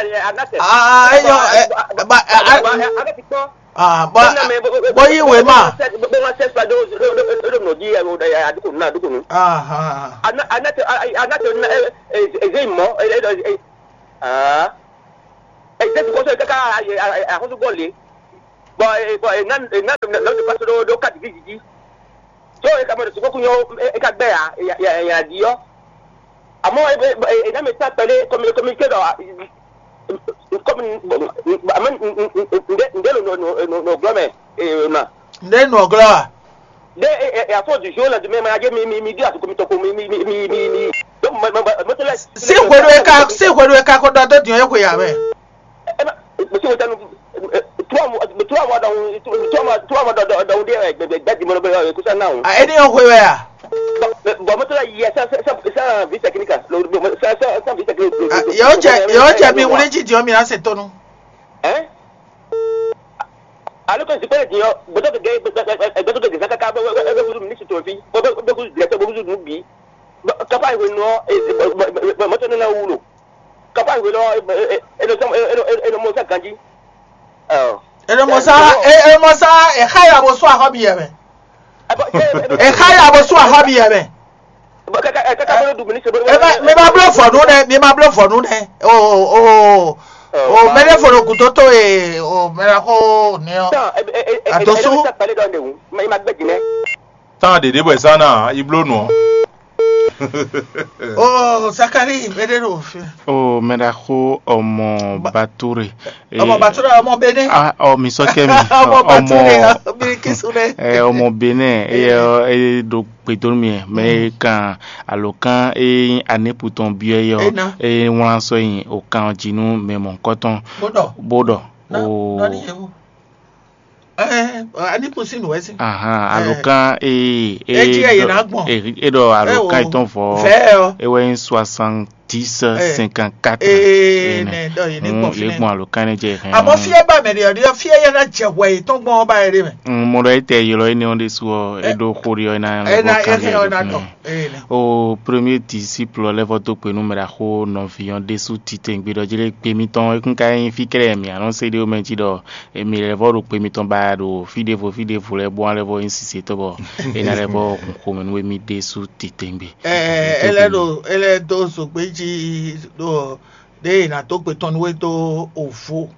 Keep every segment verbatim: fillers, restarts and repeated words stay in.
a nate. Ah, eyo, eh, ba, eh, ah, ah, ba, bo yi wema. Bo ma sɛ ba do do do do no di ya do ya du ko na du ko no. Ah, ah. Ana ana te ana te na e e e mo e e ah. E te ko so kaka a a ko so gole. Bɔ e bɔ e ná e ná nɔ de paso ɖo ɖo kati vi didi. So e ka mɔ ɖo sukɔku nyɔ e ka gbɛ ya ya ya ya di yɔ. Amɔ e e e ná mi ta kpɛɖe kɔmi kɔmi ke ɖɔ kɔmi amɛ nde nde lo no no no no glɔ mɛ e na. Nde nɔ glɔ a? Nde e e afɔ du jour la du mɛ ma je mi mi mi di asu kɔmi tɔkɔ mi mi mi mi mi mi. Donc ma ma ma ma tɛ la. Si hwenu e ka si hwenu e ka ko ɖɔ dó diɔ e xwe ya mɛ. Ema, mesi wotanu trois mois, trois mois dans trois mois trois mois dans dans dans des gbe gbe di mo be ko sa na o. A eni o hwe wɛ a? Bon, mais bon, mais là il y a ça ça ça ça vie technique là. Le bon ça ça ça vie technique. A yo jẹ yo jẹ mi wuli ji diɔ mi na se tonu. Hein? Alors que je peux dire, beto ke beto ke zaka ka be be be ministre to fi. Be be be directeur be bi. Kapa we no e moto na wulo. Kapa we lo e no e no mo sa ganji. Oh. E no mo sa e e mo sa e xa ya bo so ahɔ bi yɛ mɛ. E xa ya bo so ahɔ bi yɛ mɛ. E ma mi ma bló vɔnu nɛ mi ma bló vɔnu nɛ o o o o mɛɖe fɔlɔ kudo to e o mɛɖe ko nɛ ɔ. Adosu. Tán ɖěɖé bɔ è sá ná yi bló nǔ ɔ́. Oh, Zakari, mɛɖe ɖo fi. O mɛɖaxó ọmọ Bature. Ọmọ Bature, ọmọ Benin. Ah, ọ mi sọ kẹ mi. Ọmọ Bature, ọmọ Birikisu rẹ. Ẹ ọmọ Benin, eye eye ɖo gbedonu mi mɛ kan alokan eye aneputɔn biɔ yɔ. Ena. Eye wlan sɔ yin okan jinu mɛ mɔkɔtɔn. Bó ɖɔ. Bó ɖɔ. Nɔ- O nɔ ni yewu. Ɛɛ, ani kún sín nǔ wɛ sín. Ahan, alokan ee Edzi ee eye ná gbɔn. E ɖɔ alokan yětɔn vɔ. Vɛ ɔ. Ewɛ nyí soixante-dix cinquante-quatre. Ee nɛ ɖɔ yě ní gbɔn yě fínɛ. Gbɔn alokan ní jɛ hɛn. Àmọ́ fí é bá mɛ ɖe ɔ́ ɖe ɔ́, fí é yɛ ná jɛ hwɛ yětɔn gbɔn ɔ́ bá yɛ ɖe mɛ. Mo ɖɔ etɛ ylɔ énɛ́ ɔ́ ɖésú ɔ́, é ɖó xó ɖi ɔ́ é ná é ná é hɛn ɔ́ ná ɖɔ. Ee nɛ. O premier disciple lɛ́ vɔ dó gbe nú mɛ ɖaxó nɔví ɔ́ ɖésú titewungbe ɖɔ jí lé gbe mitɔn é kún ka nyí fí kɛ́ɖɛ́ mǐ a nɔ se ɖé mɛ jí ɖɔ emi lɛ́ vɔ ɖo gbe mitɔn ba ɖo fí ɖěvo fí ɖěvo lɛ́ɛ bó wá lɛ́ vɔ nyí sisetɔ́ bɔ é ná lɛ́ vɔ hun xomɛ nú émí ɖésú titewungbe. Ɛ ɛ lɛ ɖo é lɛ dó zogbe jí ɖo ɖě è nǎ dó gbe tɔn nú we dó òvo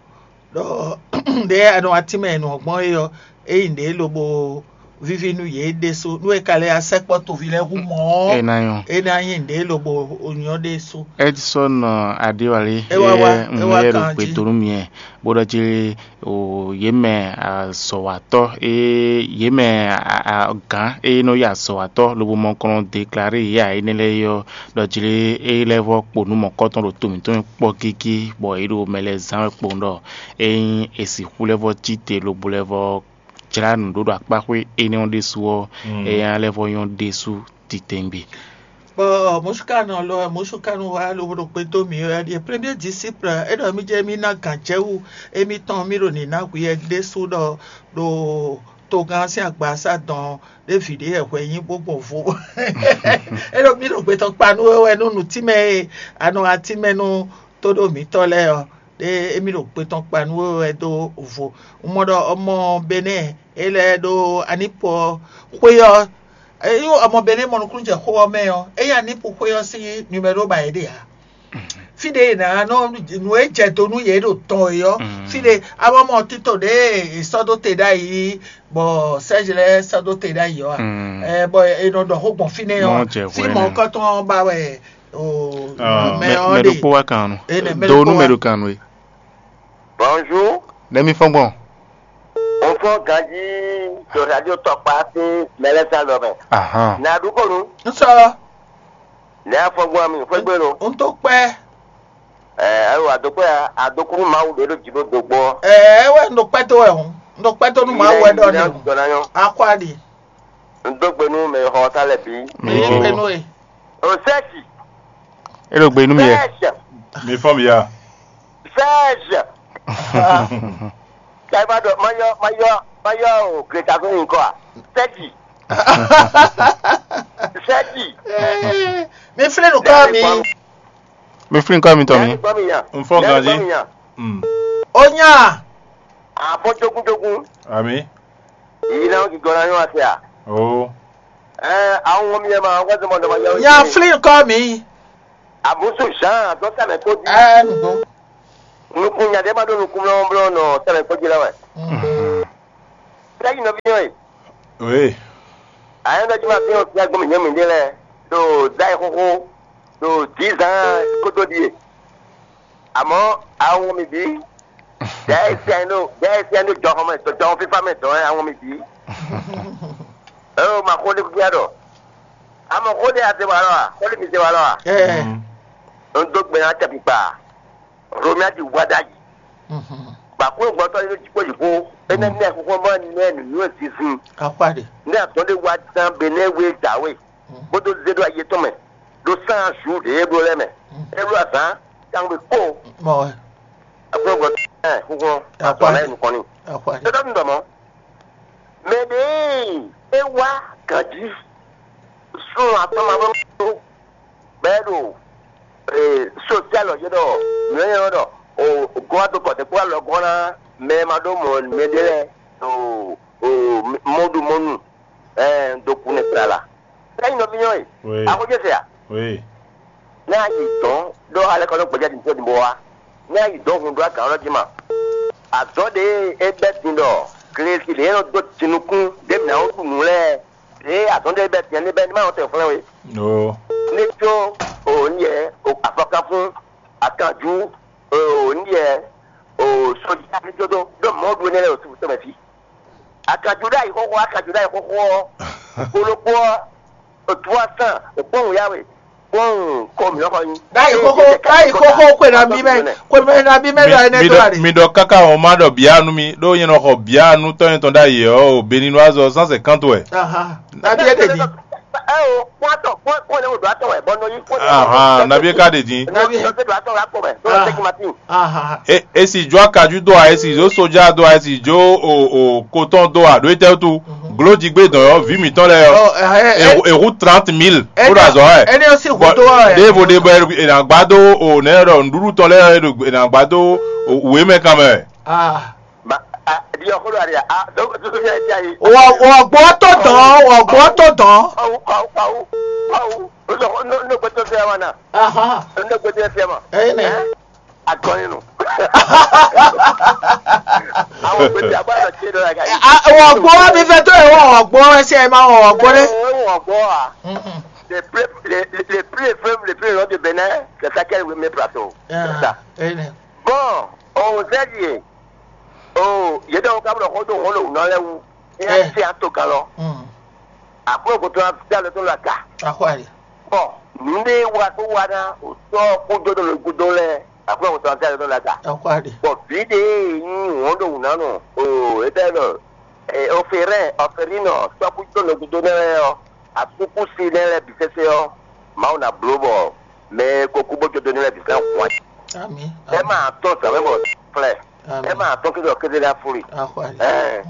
ɖɔ ɖě a nɔ atínmɛ e nɔ gbɔn é ɔ́, é nyí nǔɖé lobo víví nú yě ɖésú. Nú è ka lɛ́ ya sɛkpɔ́ toví lɛ́ɛ hu mɔ̌ ɔ́, é ná nyɔ́. É ná nyí nǔɖé lobo nyɔ́ ɖésú. Edison Adéwálé, é wá wá é wá yɛ ɖo kan jí. Gbedonu miɛ bó ɖɔ jí o yě mɛ azɔ̌watɔ́ e yě mɛ gǎn e nɔ yi azɔ̌watɔ́ lobo mɔ kɔn déklaré yě ǎ énɛ́ lɛ́ɛ é ɔ́, ɖɔ jlé é lɛ́ vɔ́ kpo nǔ mɔ̌kɔtɔn ɖo to mǐtɔn kpɔ́ gígí, bɔ yě ɖo mɛ lɛ́ɛ zán wɛ kpowun ɖɔ ényí è sixú lɛ́ vɔ́ cí te lobo lɛ́ vɔ́ jlá nǔ ɖó ɖo akpáxwé énɛ́ ɔ́ ɖésú ɔ́, é ná lɛ́ vɔ́ nyɔ́ ɖésú titewungbe. Bɔ mɔ̌súkanɔ lɔ mɔ̌súkanɔ wa lobo ɖo kpé dó mǐ wɛ ɖíe premier disciple é ɖɔ mí jɛ mí ná gǎn jɛ wú émítɔn mí ɖo nǐ ná hwiyɛ ɖésú ɖɔ ɖo togán sín agbasa dɔn ɖé vǐ ɖé wɛ hwɛ nyí bó gbɔn vo. É ɖo mí ɖo gbetɔn kpa nú we wɛ nú nǔtínmɛ e a nɔ atínmɛ nú tóɖó mǐtɔn lɛ́ɛ ɔ́, ɖé émí ɖo gbetɔn kpa nú we wɛ dó vo. Un mɔ ɖɔ ọmọ Benɛ́ɛ é lɛ́ ɖó Anípu ɔ́ xwé ɔ́, é nyí ọmọ Benɛ́ɛ mɔ nukúnnú jɛ xó ɔ́ mɛ ɔ́, é nyí Anípu xwé ɔ́ sín numɛ́ɖó ba yě ɖe ǎ. Fí ɖě è nǎ nɔ nǔ e jɛ do nú yě ɖo tɔn é ɔ́, fí ɖě a mɔ mɔ tito ɖě è sɔ́ dó te ɖ'ayǐ bɔ Sɛ́zi lɛ́ɛ sɔ́ dó te ɖ'ayǐ ɔ́ a? Ɛ, bɔ è nɔ ɖɔ xó gbɔn fínɛ́ ɔ́, fí mɔ̌kɔtɔn ɔ́ ba wɛ o mɛ ɔ́ ɖe. Mɛ ɖokpó wá kan nɔ. Ene, mɛ do ɖokpó nú mɛ wá. Ɖo kan nɔ é. Bonjour. Nɛmi fɔn gbɔn. N fɔ ganji to radio tɔkpa sín mɛlɛsa lɔ mɛ. Ahan. Na ɖu kɔnu. N sɔ. Ne afɔ gbɔ mi fɔ gbɛ lo. N tó kpɛ. Ɛ ayiwa adokpɛ ya adokunu mawu ɖe ɖo dzi ɖo dogbɔ. Ɛ wɛ n ɖo kpɛ tó wɛ hɔn. N ɖo kpɛ tó nu mawu wɛ ɖɔ ne. Dɔna yɔ. Akɔ aɖi. N do gbe nu mɛ xɔ ta lɛ bi. Mi yí kpɛ nú e. O sɛsi. E ɖo gbe nú mi yɛ. Sɛsi. Mi fɔ mi ya. Sɛsi. Kaiba dɔ mayɔ mayɔ mayɔ o greta fún mi kɔ a. Sɛsi. Sɛsi. Mi flɛ nu kɔ mi. Mi flin kɔ mi tɔ mi. N fɔ ganzi. Mm. Onya. Afɔ jogun jogun. Ami. Yi na ki gɔna yɔ ase a. Oh. Ɛ àwọn ọmọ mi yẹn ma wọ́n ti mọ dọ́mọ yẹn. Nya flin kɔ mi. Àbúsù Jean tó sàmì kó di. Ẹ nùgbọ́n. Nukun nya dé ma ɖo nukun mlɔmlɔ nɔ sàmì kó di la wɛ. Fɛ́ yi nɔví yɔn e. Oui. Ayɔ́ ɖɔ jí ma fín ɔ́ fín agbɔn mǐnyɔ́ mǐɖée lɛ́ɛ ɖo dá yi xóxó ɖo dǐzán kótó ɖíe. Àmọ́, àwọn mi bǐ, dɛ̌ é sɛn ɖo dɛ̌ é sɛn ɖo jɔxɔ mɛ, jɔxɔ fífá mɛ dɔn wɛ àwọn mi bǐ. Eo ma xó ɖé kúkú ɖɔ. Àmọ́ xó ɖé a zé wa lɔ a? Xó ɖé mi zé wa lɔ a? Ɛ. Mm. Un dó gbe ná tɛ kpikpa. Romia ɖi wá ɖ'ayǐ. Mhm. Gbàkúrò gbɔtɔ́ yé jǐkpó yǐkó. Énɛ́ nɛ́ xóxó mɔ nɛ́ nǔnywɛ́ zinzin. Akpá ɖe. Nɛ́ azɔn ɖé wá dán be nɛ́ wé dǎwe. Mhm. Bó dó zé ɖó ayi tɔn mɛ. Ɖó sán azu ɖě é bló lɛ́ɛ mɛ. Mhm. É bló azǎn tangbe kó. Mɔ wɛ. Agbɔn gbɔ ɛ xúxú. Akpá azɔn lɛ ɖe. Nukɔn ni. Akpá ɖe. Tɔtɔ tun dɔmɔ. Mɛ ɖe é wá gǎnjí. Sun atɔn ma bɔ tó. Bɛ ɖo ee sosial ɔ yé ɖɔ nǔ e nyɔ́ ɖɔ o gɔ́ do kɔ dɛkpó alɔ gɔ́ ná mɛ ma ɖó mɔ mɛ ɖé lɛ́ɛ ɖo o mɔɖu mɔnu ɛɛ do kun nɛ tlala. Sɛ́ nyí nɔví nyɔ́ e. Oui. Axɔ́jɛ se a? Oui. Ní a yi dɔn ɖɔ alɛ kɔ nɔ gbɛjɛ din tó din bó wa. Ní a yi dɔn hun ɖó agǎn ɔ́ jí ma. Azɔ̌ ɖě e é bɛ́ din ɖɔ glesi ɖě nɔ dó jinukún ɖě mǐ ná wó ɖu nǔ lɛ́ɛ ɖě azɔ̌ ɖě bɛ́ din ɔ́ ní bɛ́ ní ma nɔ tɛ xlɛ́ we. Ní có o ní yɛ o afɔkafún akanjú o ní yɛ o sɔjí ní tó dó ɖó mɔ̌ ɖu énɛ́ lɛ́ɛ o sixú tɔn mɛ fí. Akajǔ ɖ'ayǐ xóxó, akajǔ ɖ'ayǐ xóxó ɔ́, kpolokpó ɔ́, trois cents kpɔ́n wǔyá we, kpɔ́n kɔ mǐ xɔ nyi. Ɖ'ayǐ xóxó, ɖ'ayǐ xóxó xwe nabí mɛ, xwe mɛ nabí mɛ ɖɔ énɛ́ mi dó ɖɔ wá ɖe. Mi ɖɔ káká ɔ́ má ɖɔ bǐ nú mi, ɖó nyɛ nɔ xɔ bǐ nú tɔ́ nyɛtɔn ɖ'ayǐ ɔ́, o Beninoise ɔ́, cent cinquante wɛ. Ahan. Nabí é ɖe din. Ɛ o, kpɔ́n atɔn, kpɔ́n kpɔ́n ne wo ɖo atɔn wɛ, bɔ nɔ yi kpɔ́n ne. Ahan, nabí é ka ɖe din. Nɔ yi nɔ se ɖo atɔn wá kpɔ mɛ, nɔ se kí ma tín. Ahan. E, e si jó akaju dó a, e si jó soja dó a, e si jó o, o kotɔn dó a, ɖó etɛ́ wútu? Glójigbé dɔn yɔ, vǐ mǐtɔn lɛ́ɛ yɔ. Ɔ, ɛ, ɛ, e, e hu trente mille bó ɖo azɔ̌ wɛ. Ɛni ɔ́ sì hu dó wɛ. Ɖěvo ɖě bɔ è nǎ gbá dó o nɛ̌ ɖɔ nǔɖuɖu tɔn lɛ́ɛ è nǎ gbá dó o wěmɛ kan mɛ wɛ. Ah. Ba a di ɔkɔ do ari a do do do ya ya yi. Wɔ wɔ gbɔ tó dɔn, wɔ gbɔ tó dɔn. Awu awu awu awu. No no no gbɛtɔ fia wa na. Aha. No gbɛtɔ fia ma. Ɛyɛ nɛ. Agɔnni nu. Àwọn gbèsè àbáyọ ṣe lọ la ka yi. Wɔ gbɔ mi fɛ tó yẹ wɔ gbɔ ẹsẹ ma wɔ gbɔ dɛ. Wɔ gbɔ wa. Les plus les les plus les fleuves les plus longs de Bénin, c'est ça qu'elle met plateau. C'est ça. Ɛyɛ nɛ. Bon, on sait bien. Oo, yě ɖɔ ka blɔ xó dó hɔn ɖo nɔ lɛ́ɛ wú. Ní a Ɛ. Tse ato kan lɔ. Mm. Akwɛ́ gotɔn ná fí alɔ tó lɔ aga. Axɔ́ali. Bɔn nǔɖé wa tó wa ná o tɔ́ kó dó ɖo gúdo lɛ́ɛ. Akwɛ́ gotɔn ná fí alɔ tó lɔ aga. Axɔ́ali. Bɔn vǐ ɖé nyí hɔn ɖo wǔ ná nɔ. Oo, é tɛ lɔ. Ɛ, ɔfɛrɛn ɔfɛrinɔ tɔ́ kó dó ɖo gúdo nɛ́ lɛ́ɛ ɔ́, asúkúsi nɛ́ lɛ́ɛ bǐ sésé ɔ́, Mawu ná bló bɔ mɛ e ko kú bó jó dó nɛ́ lɛ́ɛ bǐ sɛ́n hɔn. Ami. Ɛ ma tɔn zǎn mɛ bɔ flɛ. Ɛ ma tɔn kí lɔ kéde ná fúri. Axɔ́ali. Ɛ.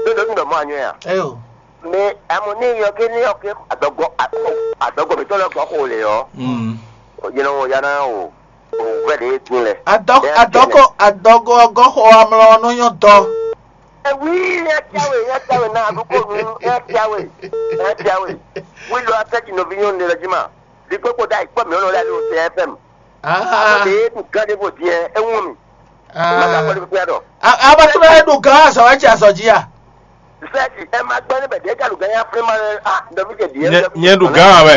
Ɖó ɖo nú ɖɔ mɔ anyɔ ya. Eyo. Mɛ amɔ ní yɔ ké ní yɔ ké adɔgɔ adɔgɔ mi tɔlɔ gɔ xo le yɔ. Mm. Yɛn wɔ yana o o wɛ de dun lɛ. Adɔ adɔgɔ adɔgɔ gɔ xɔ amlɔ nɔ nyɔ dɔ. Ewi ya tiawe ya tiawe na aɖúgbò nu ya tiawe ya tiawe. Wílò atẹ́jì nɔví nyɔnu lɛ jí ma. Ɖigbó kpo ɖ'ayǐ kpɔ́ mǐ nɔ lɛ́ ɖo C F M. Ah. Ame ɖe ɖu gán ɖé bó din ɛ, é wún mi. Ah. Má ka kpɔ́ ɖé kpékpé ɖɔ. Abatúmọ̀ ẹ̀ ɖu gán azɔ ẹ̀ tsi azɔ jí a? Sɛ́ɛ̀tì ɛ má gbɛ́ ní bɛ̀dɛ́ ká ɖu gán yá fún ma lɛ a nɔví kɛ ɖiɛ. Nyɛ ɖu gán wɛ.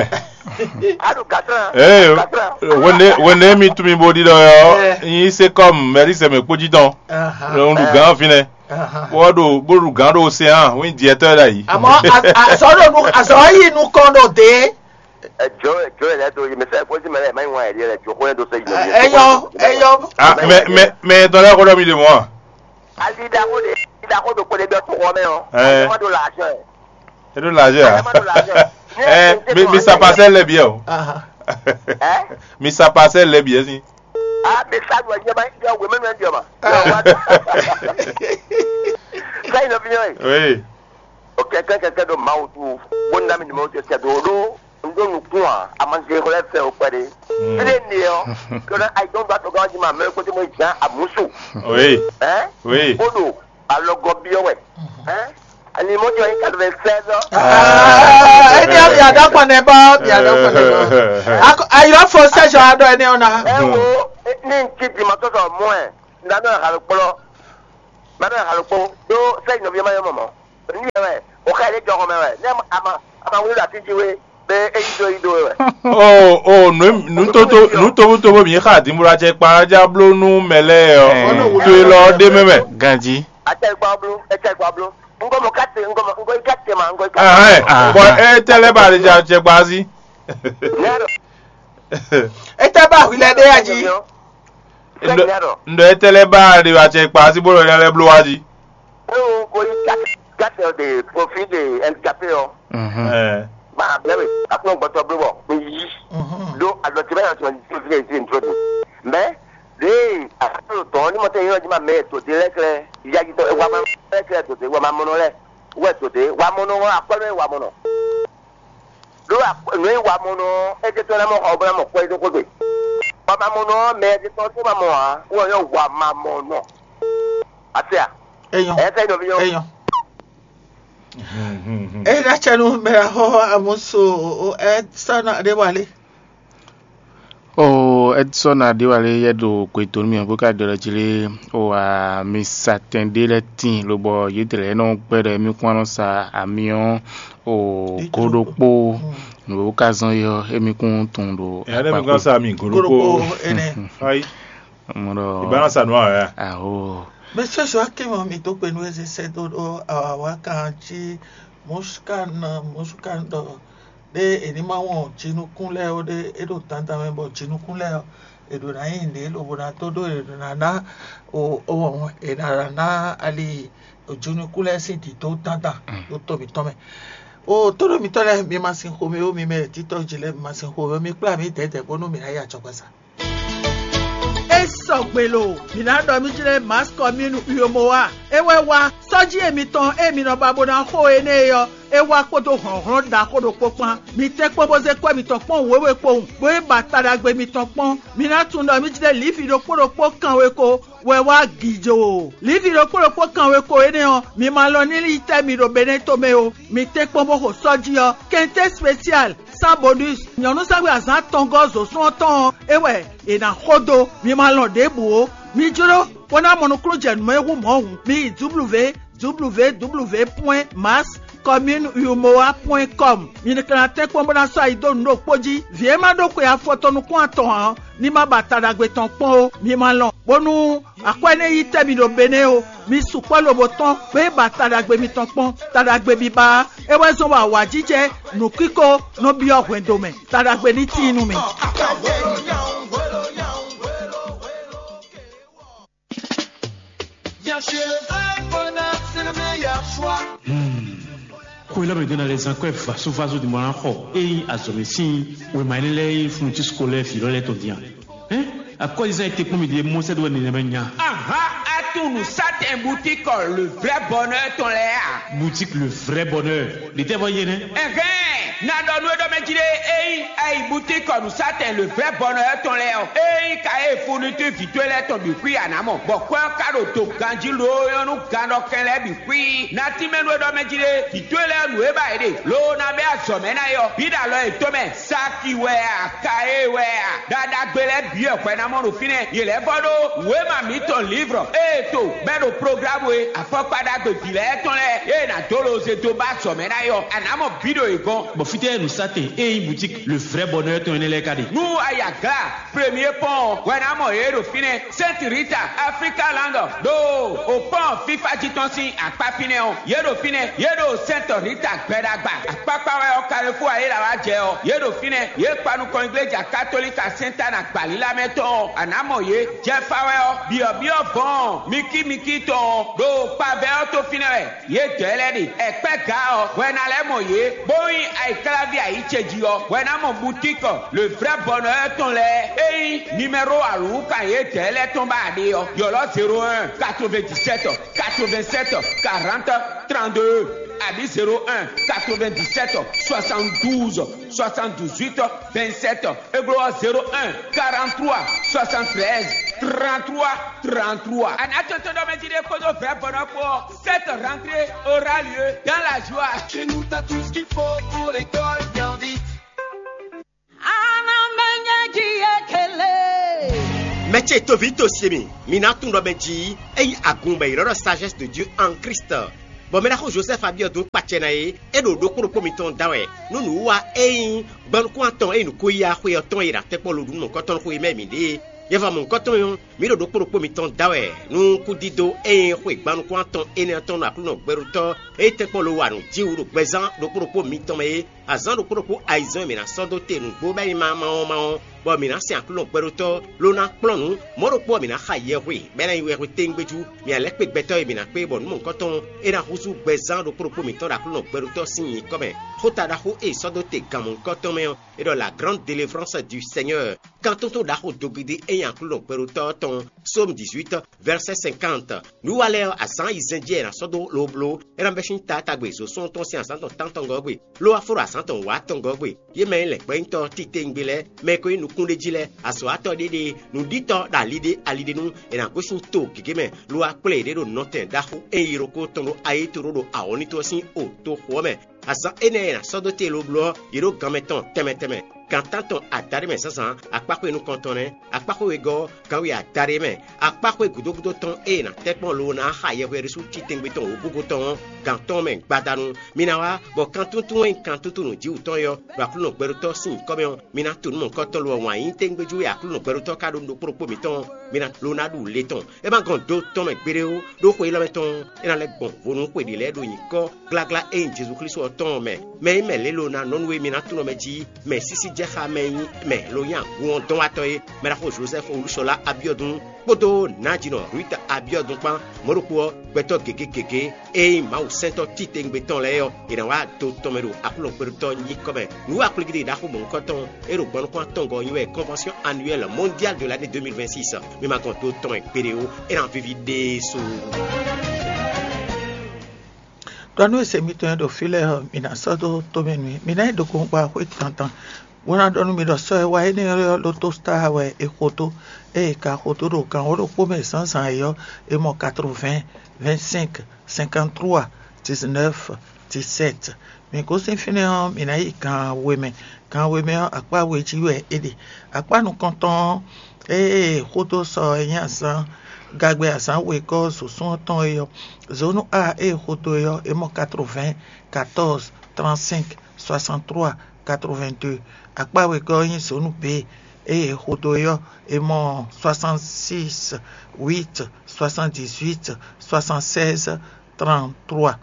A ɖu gán tán. Ee, wene wene mi tún mi bó ɖi ɖɔ yɔ, yin se kɔm mɛri sɛmɛ kpójí tɔn. Aha. Lɔ ń ɖu gán fínɛ. Aha. Bó ɖo bó ɖu gán ɖo se hàn, wín diɛtɔ ɖ'ayǐ. Àmọ́ àsọ̀rọ̀ nu àsọ̀rọ̀ yìí nu kàn ɖo dé. Ẹjọ́ ẹjọ́ ẹ̀ lẹ́tọ́ yìí mi sẹ́ kó sí mẹ́rẹ́ ẹ̀ máa ń wá ẹ̀rí rẹ̀ jó kó yẹn tó sẹ́yìn lórí. Ẹyọ ẹyọ. Ah, mɛ mɛ mɛ tɔn lɛ kó dɔ mi de mɔ. Ali da ko de da ko do ko de bɛ kó xɔ mɛ o. Ɛ. Ɛmɛ ma do la aṣọ ɛ. E do la aṣọ ya. Ɛmɛ ma do la aṣọ ɛ. Ɛ, mi mi sapasɛ lɛ biɛ o. Aha. Ɛ? Mi sapasɛ lɛ biɛ si. Ah, mi sa do ɛ nyɛ ma yɔ wɛ mɛ nɔ ɛ diɔ ma. Sẹ́yìn ló fi yàn yìí. Oui. O kɛkɛ kɛkɛ ɖo Mawu tu, bó ná mi numero ce sɛ do ɖó un ɖó nukún a, a ma se xlɛ́ fɛ o kpɛɖé. Fíɖé ne ɔ́, kɛɖɛ ayidɔn ba tɔgán jí ma mɛ kó tí mo zan àmúsù. Oui. Hein? Oui. Bó ɖo alɔgɔ biɔ wɛ. Hein? Ani mo jɔ yín quatre-vingt-seize ans. Ah, ẹni àmì àdàpọ̀ nẹ bá mi àdàpọ̀ nẹ bá. Ayọ̀ fọ sẹ́sọ̀ adọ́ ẹni ọ̀nà. Ẹ wo ní n ti dì mọ́ tọ́tọ̀ mọ́ ẹ̀, n dáná àlọ́ kplọ́, n dáná àlọ́ kplọ́, ɖó sẹ́yìn nɔví ẹ má yọ mọ̀mọ́. Wɛ, ne ama ama wúlò ɖo atín jí wé, bɛ é yí dó yí dó wɛ. O o nǔ nǔ tótó nǔ tóbótóbó mǐ xa dǐnbúlá cɛ kpa já bló nú mɛ lɛ́ɛ ɔ. Tó e lɔ ɔ́ ɖé mɛ mɛ. Ganjí. Acɛ gba bló, acɛ gba bló. Ŋgɔ mɔ kate, ŋgɔ mɔ ŋgɔ yi kate ma, ŋgɔ yi kate. Ahɛn, bɔ é tɛ lɛ́ ba ɖe ja cɛ gba sí. Nɛrɔ. É tɛ ba hwi lɛ ɖé ya jí. Nɛrɔ. Ŋdɔ é tɛ lɛ́ ba ɖe wa cɛ gba sí bó lɔ lɛ́ bló wa jí. Ewo ko yi kate, kate de profil de handicapé ɔ. Ɛɛ. Ba bɛrɛ akplɔ gbɔtɔ bló bɔ mi yi. Do alɔ ti bɛ yɔ sɔ ti fi si ntro do. Mɛ de akplɔ tɔ ni mɔtɛ yɔ ji ma mɛ to de lɛ klɛ. Yaji tɔ wa ma lɛ klɛ to de wa ma mɔnɔ lɛ. Wɛ to de wa mɔnɔ akpɔ lɛ wa mɔnɔ. Ɖó nǔ e wa mɔ nɔ ɔ́, é jɛ tó ná mɔ xɔ bó ná mɔ kpɔ́ é dó xwé gbe. Wa ma mɔ nɔ ɔ́, mɛ e tɔn tó ma mɔ ǎ, wɔ nyɔ wa ma mɔ nɔ. Ase a? Eyɔn. Ɛ fɛ nɔví nyɔ. Eyɔn. Eye ɖe acɛ nú mɛ axɔ amuso o ɛ sɔnɔ ɖé wale. O Edson Adéwálé yɛ ɖo kwetonu mì bó ka ɖɔ ɖɔ jí lé o a mi sa tɛn ɖé lɛ́ɛ tíin lobɔ yědɛɛ lɛ́ɛ nɔ gbɛ́ ɖɔ émí kún wá nɔ sa amyɔ o go ɖokpó nǔ e ka zɔ́n é ɔ́ émí kún tunwun ɖo Ɛyá ɖé mi gán sa mi gǒ ɖokpó. Ayi, mɔ ɖɔ ìbá ná sa nǔ awɛ a? Aho. Mɛ sɔsɔ akɛ mɔ mi tó kpe nú eze sɛ dó ɖó awa kan jí mɔsukan mɔsukan ɖɔ ɖé è ní ma wɔn jinukún lɛ́ɛ ó ɖé é ɖo dandan mɛ bɔ jinukún lɛ́ɛ ɔ́ è ɖǒ ná nyi nǔɖé lobo ná dó ɖó è ɖǒ ná ná o o è ná ná ali jinukún lɛ́ɛ sín dǐdó dandan ɖó tó mǐtɔn mɛ. O tóɖó mǐtɔn lɛ́ɛ mi ma sin xomɛ ó, mi mɛ títɔ́ jí lɛ́ɛ mi ma sin xomɛ ó, mi kplá mǐ dɛ̌dɛ̌ bónú mǐ ná yi ajɔgbasa. É sɔgbe lo, mǐ ná ɖɔ mí jlɛ́ Maskɔ mí nu Uyomowa. É wɛ wá sɔ́jí e mitɔn e mi nɔ ba bó ná xo énɛ́ é ɔ́, é wá kpódó hlɔ̌nhlɔ́n ɖaxó ɖokpó kpán. Mi tɛ́nkpɔ́n bó zé kwɛ́ mitɔn kpɔ́n wěwe kpowun, bó yi ba taɖagbe mitɔn kpɔ́n. Mi ná tunwun ɖɔ mí jlɛ́ Livi ɖokpó ɖokpó kanwe ko wɛ wá gǐjó. Livi ɖokpó ɖokpó kanwe ko énɛ́ ɔ́, mi ma lɔn ní yi tɛ́ mi ɖo Benɛ́ tomɛ ó. Mi tɛ́nkpɔ́n bó xo sɔ́jí ɔ́, kɛntɛ́ spesial, Sans bonus, nyɔ̌nu sɛ́gbɛ azǎn atɔngɔ́ zǒsún ɔ́ tɔn ɔ́, é wɛ è nǎ xo dó. Mi ma lɔn ɖěbǔ ó. Mi jló bó ná mɔ nukúnnú jɛ nǔ e hú mɔ̌ hǔn, mi yi W W W point Mass Commune Umoa point com. Mi ka ná tɛ́nkpɔ́n bó ná sɔ́ ayi dó nǔ ɖokpó jí. Vǐ e ma ɖó xwe afɔ tɔn nukún atɔn ǎ ɔ́, ní ma ba ta ɖagbe tɔn kpɔ́n ó. Mi ma lɔn, bónú akwɛ́ énɛ́ yi tɛ́ mi ɖo Benɛ́ ó. Mi sukpɔ́ lobo tɔ́n bó yi ba ta ɖagbe mitɔn kpɔ́n. Ta ɖagbe biba ɔ́, é wɛ zɔ́n bɔ awǎjijɛ nǔkíko nɔ byɔ́ hwɛndo mɛ. Ta ɖagbe ní tíin nú mi. Bien sûr, le vrai bonheur, c'est le meilleur choix. Xwe lɛ́ mɛ ɖó ná lɛ́ zán kwɛ́ vasovaso ɖi mɔ ná xɔ ényí azɔ̌mɛ sín wěma énɛ́ lɛ́ɛ e fúnnu cí sukó lɛ́ɛ vǐ lɔ lɛ́ɛ tɔn din a? Hɛn? Akwɛ́zizán e tɛ́nkpɔ́n mi ɖe Mɔsɛ́ ɖó wɛ nɛnɛmɛ nya. Aha, atún nǔsátɛn butíkɔ le vrai bonheur tɔn lɛ́ɛ a? Boutique le vrai bonheur. Ɖětɛ́ vɔ yé nɛ́? Ɛhɛn, na ɖɔ nú we ɖɔ mɛ jí ɖé, ényí ayi butíkɔ nǔsátɛn le vrai bonheur tɔn lɛ́ɛ ɔ́, ényí ka e fourniture vǐ towe lɛ́ɛ tɔn bǐ xwí a nǎ mɔ, bɔ kwɛ́ ɔ́ ka ɖo do ganjí lǒ nyɔ́ nú gannɔkɛn lɛ́ɛ bǐ xwí. Na tínmɛ nú we ɖɔ mɛ jí ɖé, vǐ towe lɛ́ɛ nǔ e ba yě ɖe, loo ná bɛ́ azɔ̌ mɛ ná é ɔ́, bǐ ɖo alɔ yětɔn mɛ. Saki wɛ a, Kaye wɛ a, ɖaɖagbe lɛ́ɛ bǐ wɛ hwɛ ná mɔ ɖo fínɛ́. Yě lɛ́ vɔ ɖó wěma mǐtɔn lǐvrɔ ée to bɛ́ ɖo programu e afɔkpa ɖagbe vǐ lɛ́ɛ tɔn lɛ́ɛ ée nǎ dó lo zé dó ba azɔ̌ mɛ ná é ɔ́, a nǎ mɔ bǐ ɖo yě gɔ́n. Bɔ fítɛ́ nǔsátɛn e nyí boutique le vrai bonheur tɔn énɛ́ lɛ́ɛ ka ɖe? Nú a yi Agla Premier Pɔ́n ɔ́, hwɛ ná mɔ yě ɖo fínɛ́. Sainte Rita, Africa Land, ɖo o pɔ́n fífá jí tɔn sín akpá fínɛ́ ɔ́, yě ɖo fínɛ́, yě ɖo Sainte Rita gbɛɖagba. Akpákpá wɛ ɔ́, Carrefour ayéla wá jɛ ɔ́, yě ɖo fínɛ́, yě kpa nukɔn igleja katolika Sainte Anne agbalílá mɛ tɔn ɔ́, a nǎ mɔ yě. Jɛfa wɛ ɔ́, byɔ̌byɔ́ vɔ̌ɔn mikímikí tɔn ɔ́, ɖo kpavɛ ɔ́ tó fínɛ́ wɛ. Yědɛɛ lɛ́ɛ ɖe ɛkpɛ́ gǎ ɔ́, hwɛ ná lɛ́ mɔ yě, bó nyí ayǐkláví ayǐ ce jí ɔ́, hwɛ ná mɔ butíkɔ le vrɛ́ bɔnɔ ɔ́ tɔn lɛ́ɛ. Ényí nimɛro alǔwúkan yědɛɛ lɛ́ɛ tɔn ba a ɖe ɔ́, ylɔ́ zéro un, quatre-vingt-dix-sept, quatre-vingt-sept, quarante, trente-deux, abǐ zéro un, quatre-vingt-dix-sept, soixante-douze, soixante-dix-huit, vingt-sept. Églo ɔ́, zéro un, quarante-trois, soixante-treize, trente-trois, trente-trois. A nǎ tɔn tɔn ɖɔ mɛ jí ɖé kpódó vrɛ̌ bɔnɔ kpó ɔ́, cette rentrée aura lieu dans la joie. Chez nous, t'as tout ce qu'il faut pour l'école bien vite. Mɛ ce toví to se mi, mi ná tunwun ɖɔ mɛ jí ényí agun bɔ è ylɔ́ ɖɔ sagesse de Dieu en Christ. Bɔ mɛ ɖaxó Jozɛ́fu Abiɔdun kpacɛ ná é, é ɖo ɖokpó ɖokpó mitɔn da wɛ, nú nǔwiwa e nyí gbɔnukún atɔn e nǔ ko yi axwe ɔ́ tɔn e ɖo atɛkpɔ́ lodǔnnukɔntɔn xwe mɛ mǐ ɖe é. Yɛhwamɔ̌ nukɔntɔn ɔ́, mǐ ɖo ɖokpó ɖokpó mitɔn da wɛ nú kúdídó e nyí xwe gbannukún atɔn énɛ́ ɔ́ tɔn nú Aklúnɔ gbɛɖótɔ́ e tɛ́nkpɔ́n lo wa nǔ jí wú ɖo gbɛzán ɖokpó ɖokpó mitɔn mɛ é. Azǎn ɖokpó ɖokpó ayizɛ́n e mǐ ná sɔ́ dó te nǔgbó bɔ é nyí ma ma ɔ́ ma ɔ́, bɔ mǐ ná sɛn Aklúnɔ gbɛɖótɔ́ ló ná kplɔ́n nǔ. Mɔ̌ ɖokpó ɔ́, mǐ ná xa yɛhwe, bɔ é ná nyí wɛhwe téŋgbéjú. Mǐ ná lɛ́ kpé gbɛtɔ́ e mǐ ná kpé bɔ nǔ mɔ̌hunkɔtɔn é ná húzú gbɛzán ɖokpó ɖokpó mǐtɔn ɖo Aklúnɔ gbɛɖótɔ́ sín nyǐkɔ mɛ. Xóta ɖaxó e è sɔ́ dó te gan mɔ̌hunkɔtɔn mɛ ɔ́, é ɖɔ la grande délivrance du Seigneur. Kan tuntun ɖaxo dogidi e nyi Aklúnɔ gbɛɖótɔ́ ɔ́ tɔn, Psaume dix-huit, verset cinquante. Nǔwiwa lɛ́ɛ ɔ́, azǎn ayizɛ́n jí wɛ è nǎ sɔ́ dó lobló, é ná bɛ́ sín taatagbe zǒsún tɔn sín azǎn tɔn tántɔngɔ́ gbe, ló wá fó ɖo azǎn tɔn wǎtɔngɔ́ gbe. Yě mɛ e nyí lɛ̌ngbɔ́nyitɔ́ titewungbe lɛ́ɛ, mɛ e ko nyí nukúnɖéjí lɛ́ɛ, azɔ̌watɔ́ ɖé ɖe, nǔɖítɔ́ ɖo ali ɖé ali ɖé nu, è nǎ gosín to gěgé mɛ, lo wá kplé yě ɖo nɔtɛn ɖaxó e nyí ɖokpó tɔn ɖo ayéto ɖó ɖo awɔ̌nlín toxo ɔ́ sín o toxo ɔ́ mɛ. Azǎn énɛ́ e è nǎ sɔ́ dó te lobló ɔ́, yě ɖo gan mɛ tɔn tɛnmɛ tɛnmɛ. Gan tántɔn adaɖé mɛ zǎnzǎn, akpáxwé nukɔntɔn nɛ́, akpáxwé wegɔ́ ɔ́, ganwé adaɖé mɛ, akpáxwé gǔdo gúdo tɔn e è nǎ tɛ́ kpɔ́n lo ná xa yɛhweɖésú titɛngbé tɔn wǒgúgú tɔn ɔ́, gan tɔn mɛ gbadanu. Mi ná wá, bɔ kan túntún e nyí kan túntún nǔjíwǔ tɔn é ɔ́, ɖo Aklúnɔ gbɛɖótɔ́ sín nyǐkɔ mɛ ɔ́, mi ná to nǔ mɔ̌hunkɔtɔn lo ɔ́ wǎn yí téngbejú e Aklúnɔ gbɛɖótɔ́ ka ɖó nú ɖokpó ɖokpó mǐtɔn ɔ́, mi ná lo ná ɖu le tɔn. É ma gɔn do tɔn mɛ gbeɖé ó, ɖó xwe élɔ́ mɛ tɔn ɔ́, é ná lɛ́ gbɔn vo nú xwe ɖě lɛ́ɛ ɖo nyǐkɔ gláglá e nyí Jezu Klísu ɔ́ tɔn ɔ́ mɛ. Mɛ e nyí mɛ lě lo ná nɔ nú e mi ná tunɔ mɛ jí, mɛ sísí jɛ xá mɛ e nyí mɛ lo nyí agun ɔ́ dɔn wá tɔ́ é, mɛ ɖaxó Jozɛ́fu Olúṣɔlá Abiɔdun kpódó nǎjínɔ Ruita Abiɔdun kpán, mɔ̌ ɖokpó ɔ́, gbɛtɔ́ gěgé gěgé e nyí Mawu sɛntɔ́ titewungbe tɔn lɛ́ɛ ɔ́, è nǎ wá do tɔn mɛ ɖo Aklúnɔ gbɛɖótɔ́ nyíkɔ mɛ. Nǔ akplígíɖí ɖaxó mɔ̌hunkɔtɔn e ɖo gbɔnukún atɔngɔ́ ɔ́ nyí wɛ Convention annuelle mondiale de l'année deux mille vingt-six. Mi ma gɔn do tɔn mɛ gbeɖé ó, é ná víví ɖésú. Ɖɔ nú e se mitɔn e ɖo fí lɛ́ɛ ɔ́, mi ná sɔ́ dó tomɛ nú mì. Mi ná yi ɖo gɔngba xwé dandan, bó ná ɖɔ nú mi ɖɔ sɔ́ e wá énɛ́ ɔ́ lótó star wɛ è xo dó, ée è ka xo dó ɖo gan wǒ ɖokpó mɛ zǎnzǎn é ɔ́, è mɔ quatre-vingts, vingt-cinq, cinquante-trois, dix-neuf, dix-sept. Mǐ gosín fínɛ́ ɔ́, mǐ ná yi gan we mɛ. Gan we mɛ ɔ́, akpá we jí wɛ é ɖe. Akpá nukɔntɔn ɔ́, ée xódó sɔ e nyí azǎn gagbɛ azǎn wegɔ́ zǒsún ɔ́ tɔn é ɔ́, zǒnú A e xódó é ɔ́, é mɔ quatre-vingts, quatorze, trente-cinq, soixante-trois, quatre-vingt-deux. Akpá wegɔ́ ɔ́ nyí zǒnú B e xódó é ɔ́, é mɔ soixante-six, huit, soixante-dix-huit, soixante-seize, trente-trois.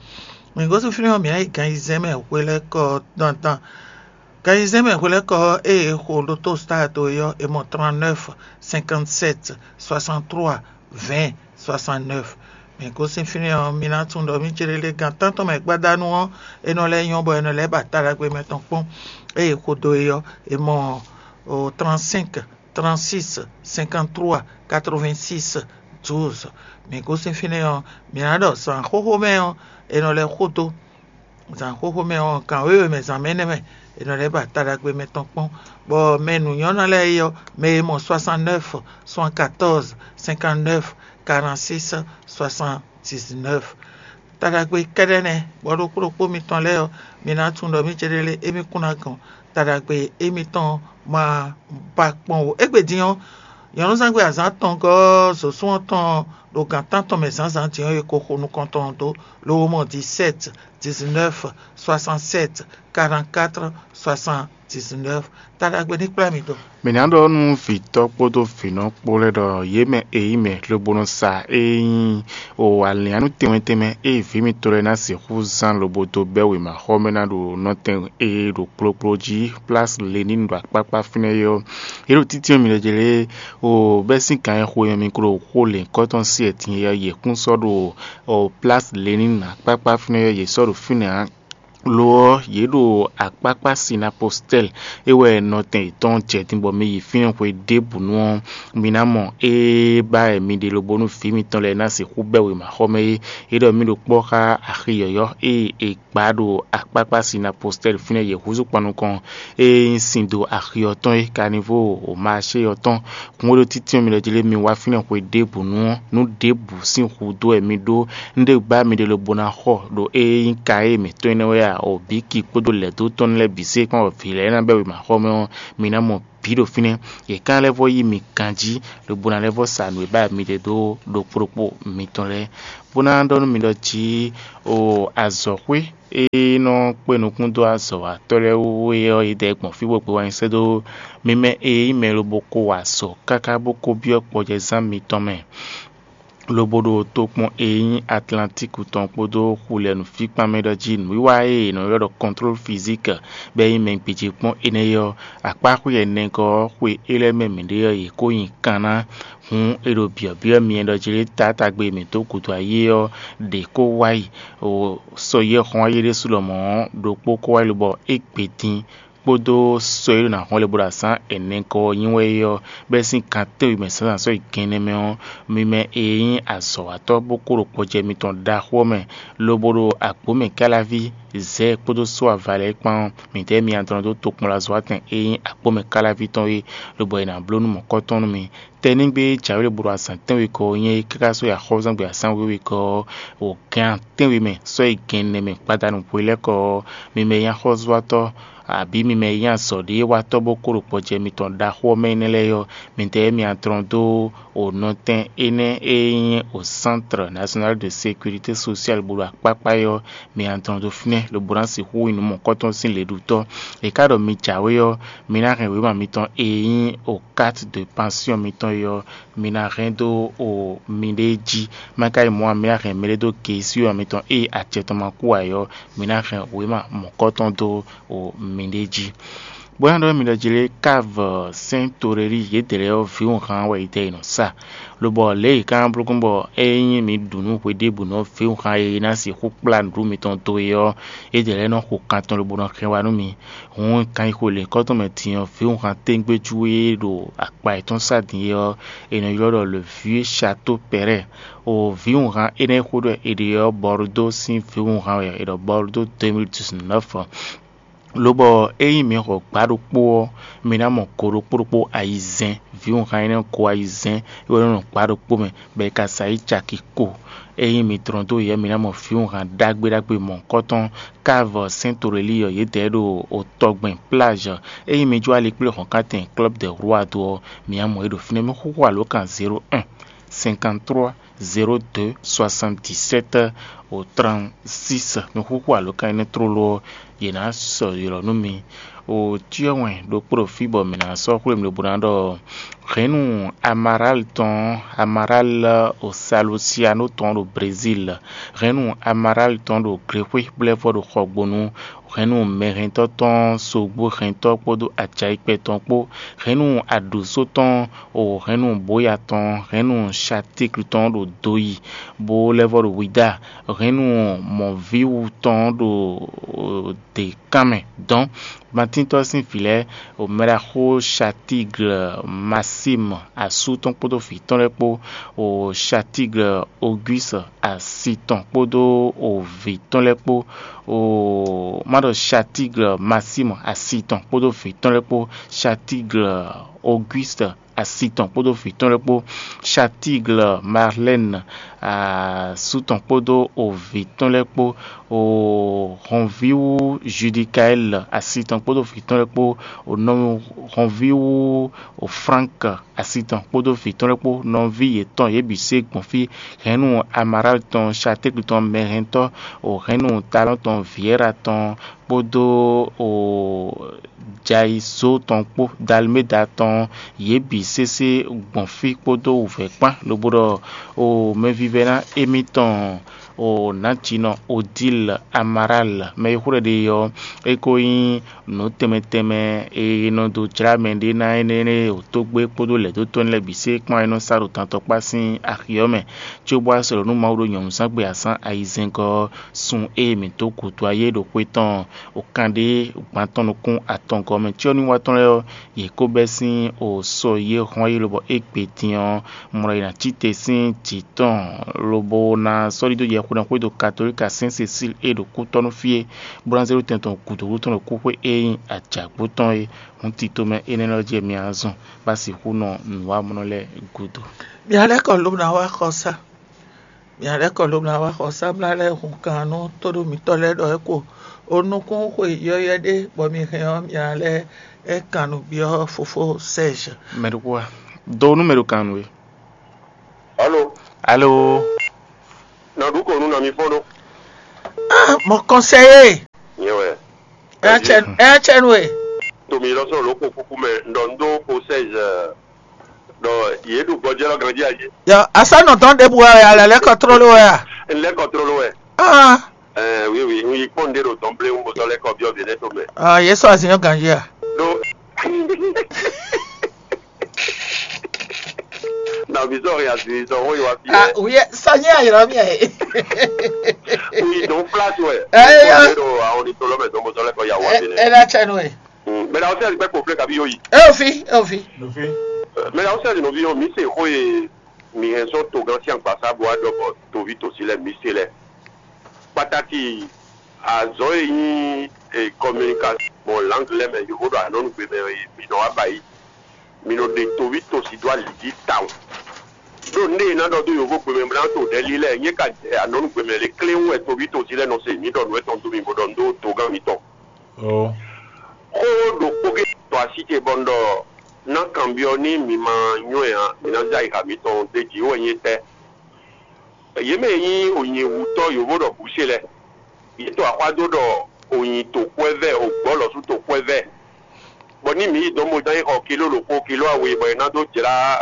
Mǐ gosín fínɛ́ ɔ́, mǐ ná yi gan ayizɛ́n mɛ hwelɛ́kɔ dandan. Gan ayizɛ́n mɛ hwelɛ́kɔ ɔ́, ée è xo ɖótó stado é ɔ́, è mɔ trente-neuf, cinquante-sept, soixante-trois, vingt, soixante-neuf. Mǐ gosín fínɛ́ ɔ́, mi ná tunwun ɖɔ mì céɖéɖé gan tántɔn mɛ gbadanu ɔ́, é nɔ lɛ́ nyɔ́ bɔ è nɔ lɛ́ ba ta ɖagbe mɛ tɔn kpɔ́n. Ée è xo dó é ɔ́, è mɔ trente-cinq, trente-six, cinquante-trois, quatre-vingt-six, douze. Mǐ gosín fínɛ́ ɔ́, mǐ ná ɖɔ zǎn xóxó mɛ ɔ́, è nɔ lɛ́ xo dó. Zǎn xóxó mɛ ɔ́, gan wěwe mɛ zǎn mɛ énɛ́ mɛ è nɔ lɛ́ ba ta ɖagbe mɛ tɔn kpɔ́n, bɔ mɛ nǔnyɔ́nɔ lɛ́ɛ é ɔ́, mɛ e mɔ soixante-neuf, soixante-quatorze, cinquante-neuf, quarante-six, soixante-dix-neuf. Ta ɖagbe kɛ́ɖɛ́ nɛ́, bɔ ɖokpó ɖokpó mitɔn lɛ́ɛ ɔ́, mi ná tunwun ɖɔ mì céɖéɖé émí kún ná gɔn ta ɖagbe émítɔn ma ba kpɔ́n ó. Égbé din ɔ́, nyɔ̌nuzángbe azǎn atɔngɔ́ ɔ́, zǒsún ɔ́ tɔn ɖo gan tántɔn mɛ zǎnzǎn din ɔ́, è ko xo nukɔn tɔn dó, lobo mɔ dix-sept, dix-neuf, soixante-sept, quarante-quatre, soixante-dix-neuf. Ta ɖagbe ní kplá mi dó. Mǐ ná ɖɔ nú vǐtɔ́ kpódó vǐnɔ kpó lɛ́ɛ ɖɔ yě mɛ e nyí mɛ lobo nɔ sa e nyí o alǐnnyánú tɛnmɛ tɛnmɛ e vǐ mitɔn lɛ́ɛ ná sixú zán lobo dó bɛ́ wěmaxɔmɛ ná ɖo nɔtɛn e ɖo kplokplo jí, Place Lénine ɖo akpákpá fínɛ́ é ɔ́, yě ɖo títí ɔ́ mi lɛ́ jlé o bɛ́ sín kan e xo nyɔ mi klo xó lěnkɔ́tɔn sí ɛtin e yě kún sɔ́ ɖo o Place Lénine akpákpá fínɛ́ é ɔ́, yě sɔ́ ɖo fínɛ́ ǎ. Lo ɔ́, yě ɖo akpákpá Sinapostɛ́li é wɛ nɔtɛn yětɔn jɛ din bɔ mi yi fínɛ́ xwe ɖěbǔnu ɔ́, mi ná mɔ ée ba wɛ mi ɖe lobo nú vǐ mitɔn lɛ́ɛ ná sixú bɛ́ wěmaxɔmɛ é. É ɖɔ mì ɖo kpɔ́ xá axi yɔ̌yɔ́ e è gbǎ ɖo akpákpá Sinapostɛ́li fínɛ́ yě húzú kpan nukɔn e nyí sin dó axi ɔ́ tɔn é, Kanivóo Maṣée ɔ́ tɔn. Kún e ɖo títí ɔ́ mi lɛ́ jlé mi wá fínɛ́ xwe ɖěbǔnu ɔ́, nǔ ɖěbǔ sín hudó wɛ mi ɖó. Un ɖe gbá mi ɖe lobo ná xɔ ɖo ée nyí ka e mǐtɔn énɛ́ wɛ a? Obíki kpódó lɛ̌dó tɔn lɛ́ɛ bǐ se kpɔ́n bɔ vǐ lɛ́ɛ ná bɛ́ wěmaxɔmɛ ɔ́, mi ná mɔ bǐ ɖo fínɛ́. Yě ka lɛ́ vɔ́ yí mi ganjí, lobo ná lɛ́ vɔ́ sa nǔ e ba mi ɖe dó ɖokpó ɖokpó mitɔn lɛ́ɛ, bó ná ɖɔ nú mi ɖɔ jí o azɔ̌xwé e nɔ kpé nukún dó azɔ̌watɔ́ lɛ́ɛ wú é ɔ́, yědɛɛ gbɔn fí bó gbé wá nyi sɛ́ dó mi mɛ e nyí mɛ lobo ko wa azɔ̌ káká bó ko byɔ́ kpɔjɛzán mitɔn mɛ, lobo ɖo tokpɔn e nyí Atlantíku tɔn kpódó xulɛnúfíkpán mɛ ɖɔ jí nǔwiwa e è nɔ ylɔ́ ɖɔ kɔntlólu fizík bɔ é nyí mɛ gbějé kpɔ́n énɛ́ é ɔ́, akpáxwé ɛnɛgɔ́ ɔ́ xwe é lɛ́ɛ mɛ mǐɖée ɔ́, yě ko nyi kan ná. Hǔn è ɖo byɔ̌byɔ́ myɛ ɖɔ jí taátagbe e mǐ dó gǔdo ayé ɔ́ ɖě kó wá yi, sɔ yɛ́ hɔn ayé ɖésú lɔmɔ̌ ɔ́, ɖokpó kó wá yi lobɔ é gbe din kpódó sɔ e ɖo ná hɔn le bó ɖo azǎn ɛnɛgɔ́ ɔ́ nyi wɛ é ɔ́, bɛ́ sín kan tɛ́nwe mɛ zǎnzǎn sɔ́ yi gɛnnɛ mɛ ɔ́, mi mɛ e nyí azɔ̌watɔ́ bó kó ɖo kpɔjɛ mitɔn ɖaxó ɔ́ mɛ, lobo ɖo agbǒ mɛ káláví zɛ̌ kpódó só ava lɛ́ɛ kpán ɔ́, mǐdɛɛ mi adɔn dó tokpɔnlazɔ́watɛn e nyí agbǒ mɛ káláví tɔn é, lobo è nǎ bló nú mɔ̌kɔ́tɔn nú mi. Tɛnígbe e jǎwe ɖo bo ɖo azǎn tɛ́nwe kɔ ɔ́ nyí é káká sɔ́ yi axɔ́zɔ́ngbe azǎn wěwe kɔ ɔ́, o gɛ́n tɛ́nwe mɛ sɔ́ yi gɛnnɛ mɛ gbadanu hwe lɛ́ɛ kɔ ɔ́, mi mɛ e nyí axɔ́zɔ́watɔ́, abǐ mi mɛ e nyí azɔ̌ɖéwatɔ́ bó kó ɖo gbɔjɛ mitɔn ɖaxó ɔ́ mɛ énɛ́ lɛ́ɛ ɔ́, midɛɛ mi adlɔn dó o nɔtɛn énɛ́ e nyí o Centre National de Sécurité Sociale bó ɖo akpákpá é ɔ́, mi adlɔn dó fínɛ́ lobo ná sixú nyí nǔ mɔ̌kɔtɔn sín lěɖutɔ́. È ká ɖɔ mi jǎwe ɔ́, mi ná hɛn wěma mitɔn e nyí o carte de pension mitɔn é ɔ́, mi ná hɛn dó o miɖée jí. Má ka nyí mɔ̌ ǎ, mi ná hɛn mɛɖé dó geesíwa mitɔn ée acɛ tɔn ma kú ǎ é ɔ́, mi ná hɛn wěma mɔ̌kɔtɔn dó o miɖée jí. Bó ná ɖɔ mi ɖɔ jí lé, Kávu Sɛ́n Torelíi yědɛɛ lɛ́ɛ ɔ́, vǐwunhan wɛ yědɛɛ è nɔ sa, lobɔ lě e è ka ná bló gbɔn bɔ é nyí mi ɖu nǔ hweɖěbǔnu ɔ́, vǐwunhan e ná sixú kplá nǔɖuɖu mitɔn dó é ɔ́, yědɛɛ lɛ́ɛ nɔ xo kan tɔn lobo nɔ hɛn wá nú mi. Hǔn, kanxixo lěkɔ́ tɔn mɛ din ɔ́, vǐwunhan tégbéjú e ɖo akpa yětɔn sá din é ɔ́, è nɔ ylɔ́ ɖɔ le vieux Château Perret. O vǐwunhan énɛ́ e xó ɖɔ è ɖe ɔ́, Bɔrdó sín vǐwunhan wɛ è ɖɔ Bɔrdó deux mille dix-neuf. Lobɔ ényí mi xɔ gbǎ ɖokpó ɔ́, mi ná mɔ go ɖokpó ɖokpó ayizɛ́n. Vǐwunhan énɛ́ go ayizɛ́n é wɛ nɔ nɔ gbǎ ɖokpó mɛ, bɔ è ka sa yí caki ko. Ényí mi dlɔ́n dó yɛ, mi ná mɔ vǐwunhan ɖagbe ɖagbe mɔ̌hunkɔtɔn. Kávu Sɛ́n Torelíi ɔ́, yědɛɛ ɖo otɔgbɛn plázh. Ényí mi jó alikplé hɔ̌nkántɛn Club des Rois dó ɔ́, mi ná mɔ yě ɖo fínɛ́. Mi xúxú alǒkan zéro un, cinquante-trois, zéro deux, soixante-dix-sept, trente-six. Mi xúxú alǒkan énɛ́ tlóló ɔ́, yě ná sɔ́ ylɔ́ nú mi. O cyɔ wɛn ɖokpó ɖo fí bɔ mǐ ná sɔ́ xwlé mi lobo ná ɖɔ hɛ̌nnu Amaral tɔn, Amaral o Salusiano tɔn ɖo Brezíl, hɛ̌nnu Amaral tɔn ɖo Glexwé, bó lɛ́ vɔ́ ɖo Xɔgbonu, hɛ̌nnu mɛhɛntɔ́ tɔn, sogbó hɛntɔ́ kpódó acayikpɛ tɔn kpó, hɛ̌nnu aɖǔsó tɔn, o hɛ̌nnu bóya tɔn, hɛ̌nnu Satíglu tɔn ɖo Doyi, bó lɛ́ vɔ́ ɖo Wida, hɛ̌nnu mɔ̌víwu tɔn ɖo dě kán mɛ dɔn. Matíntɔ́ sín vǐ lɛ́ɛ, o mɛɖaxó Satíglu Masímu asú tɔn kpódó vǐ tɔn lɛ́ɛ kpó, o Satíglu Ogwísi asi tɔn kpódó o vǐ tɔn lɛ́ɛ kpó, o má ɖɔ Satíglu Masímu asi tɔn kpódó vǐ tɔn lɛ́ɛ kpó, Satíglu Ogwísi asi tɔn kpódó vǐ tɔn lɛ́ɛ kpó, Satíglu Marlɛ́nu asú tɔn kpódó o vǐ tɔn lɛ́ɛ kpó, o hɔnvíwú Judikaɛ́li asi tɔn kpódó vǐ tɔn lɛ́ɛ kpó, o nɔ hɔnvíwú o Flánk asi tɔn kpódó vǐ tɔn lɛ́ɛ kpó, nɔví yětɔn yě bǐ se gbɔn fí, hɛ̌nnu Amaráli tɔn, Satékli tɔn, mɛhɛntɔ́, o hɛ̌nnu Talɔ́n tɔn, Viyɛ́ra tɔn, kpódó o Jayizó tɔn kpó, Dalméda tɔn, yě bǐ sésé gbɔn fí kpódó wǔvɛ́ kpán, lobo ɖɔ o mɛvívɛ́ná émítɔn, o nǎjinɔ Odíl Amaráli, mɛ e xó ɖɔ ɖe ɔ́, é ko nyí nǔ tɛnmɛ tɛnmɛ e nɔ dó jlá mɛ ɖé ná énɛ́ e wǒtógbé kpódó lɛ̌dótɔ́ lɛ́ɛ bǐ sé kpán é nɔ sá ɖo dantɔkpá sín axi ɔ́ mɛ, cóbó wá sɔ́ ɖɔ nú Mawu ɖo nyɔ̌nuzángbe azǎn ayizɛ́ngɔ́ ɔ́, sun e mǐ dó gǔdo ayé ɖo xwé tɔn o kanɖé gban tɔn nukún atɔngɔ́ mɛ cyɔ́núwa tɔn lɛ́ɛ ɔ́, yě kó bɛ́ sín o sɔ yě hɔn yi lobɔ é gbe din ɔ́, mlɔ yi ná cí te sín jǐ tɔn, lobo ná sɔ́ ɖidó yɛxwedɔ́ xwédo Katolíka Sɛ́n Sesíl e ɖo kútɔ́ nú fí é, bó ná zé ɖó tɛn tɔn gǔdo wú tɔn ɖo kúxwé e nyí ajǎgbó tɔn é. Hǔn tito mɛ énɛ́ lɛ́ɛ ɔ́ jí wɛ mi ná zɔn bó ná sixú nɔ nǔwanmlɔ́ lɛ́ɛ gúdo. Mǐ ná lɛ́ kɔ lobo ná wá xɔsá. Mǐ ná lɛ́ kɔ lobo ná wá xɔsá, bó ná lɛ́ hun kan nú tóɖó mǐtɔn lɛ́ɛ ɖɔ é ko O nukún xwe yɔ́yɔ́ ɖé bɔ mi hɛn ɔ́, mi ná lɛ́ ɛ kan nǔ byɔ́ fofó Serge. Mɛ ɖokpó wá. Do nú mɛ ɖo kan nú we. Alo. Alo. Nɔ ɖu kɔ nú nɔ mi fɔ́n ɖó. Ah, mɔ kɔnsɛyé. Nyɛ wɛ. Ɛ cɛ ɛ cɛ nú we. Tomi lɔ sɔn ló kó kúkú mɛ ndɔ ndo ko seize. Dɔ yě ɖu gbɔjɛ́ lɔ ganjí ayé. Yɔ, asánɔ tɔn ɖěbǔ wɛ a lɛ lɛ́ kɔ tlóló wɛ a? N lɛ́ kɔ tlóló wɛ. Ah. Ɛɛ, wi wi, n yi kpɔ́n ɖé ɖo dɔn bléwún bó tɔ́ lɛ́ kɔ byɔ́ vǐ lɛ́ɛ tɔn mɛ. Ah, yě sɔ azǐn ɔ́ ganjí a? Ɖó. Na mi sɔ ya si sɔ wó yi wá fi Ah, yɛ. Oui, sɔ nyɛ ayɔrɔ mi ɛ. Oui, donc place wɛ. Ɛ yɔ. Ɖo àwọn ní tolɔ mɛ dɔn bó tɔ́ lɛ́ kɔ ya wá fi lɛ. Ɛ na tsɛ nú ɛ. Mɛ na ɔsɛ gbɛ kofle kabi yóyi. Ɛ òfin, ɛ òfin. Mɛ na ɔsɛ nínú fi yóò mi se xó ye. Mi hɛn sɔ́ togán sín agbasá bó wá ɖɔ bɔ toví tòsí lɛ́ɛ mi se lɛ́ɛ. Kpátákì azɔ̌ e nyí communication mɔ langue lɛ́ɛ mɛ yǒhó ɖo anɔ́nugbe mɛ e mi nɔ wá ba yi. Mi nɔ ɖe toví tòsí dó ali jí tawun. Ɖó nɖé e ná ɖɔ dó yǒhógbe mɛ bó ná to ɖɛ̌ lílɛ́ nyɛ ka anɔ́nugbe mɛ lě kléwún wɛ toví tòsí lɛ́ɛ nɔ se mǐ ɖɔ nǔ étɔn dó mi bó ɖɔ nǔ dó togán mitɔn. Xó ɖokpó ké tɔ así ce bɔ un ɖɔ ná kanbyɔ́ ní mi ma nywɛ́ ǎ, mi ná zé ayixa mitɔn ɖ'é jí wɛ nyí étɛ́? Yě mɛ e nyí wǔnyíwútɔ́ yǒvo ɖɔ bǔ ce lɛ́ɛ, yě to axwá dó ɖɔ wǔnyí toxwɛ́vɛ́, wǒgbɔ́ lɔ̌ sú toxwɛ́vɛ́, bɔ ní mǐ yi dɔn bó ná yi xɔ kiló ɖokpó, kiló awe, bɔ è nǎ dó jlá,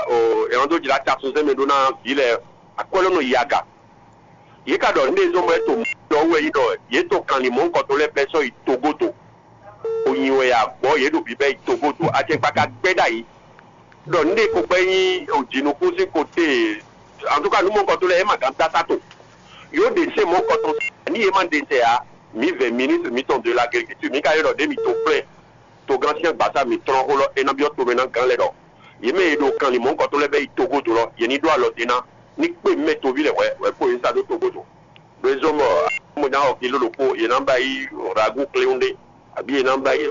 è nǎ dó jlá tasunzɛ́n mɛ ɖó ná vǐ lɛ́ɛ, akwɛ́ lɔ nɔ yi aga. Yě ka ɖɔ nǔɖé zɔ́n bɔ é to mɔ̌ wɛ nyí ɖɔ yě to kanlin mɔ̌hunkɔtɔn lɛ́ɛ bɛ́ sɔ́ yi togodo. Xo nyi wɛ ya gbɔ̌ yě ɖo bǐbɛ́ yi togodo, acɛkpa ka gbɛ́ ɖ'ayǐ. Ɖɔ nǔɖé ko gbɛ́ nyí jǐnukúnsin kote, antúka nú mɔ̌hunkɔtɔn lɛ́ɛ é ma gǎn dó asá to. Yǒ ɖe sɛ́ mɔ̌hunkɔtɔn ní yě ma ɖe sɛ ǎ, mǐ vɛ ministre mǐtɔn de l'agriculture, mǐ ka ylɔ́ ɖě mǐ to kplɛ́n. Togán sín agbasá mǐtɔn xó lɔ é ná byɔ́ tomɛ ná gán lɛ́ɛ ɖɔ yě mɛ e ɖo kanlin mɔ̌hunkɔtɔn lɛ́ɛ bɛ́ yi togodo lɔ, yě ní ɖó alɔ din ná, ní kpé mɛ toví lɛ́ɛ hwɛ hwɛ kpó yě sa ɖó togodo. Ɖó é zɔ́n bɔ mo ná xɔ kiló ɖokpó, yě ná ba yi ragu kléwún ɖé, abǐ yě ná ba yi.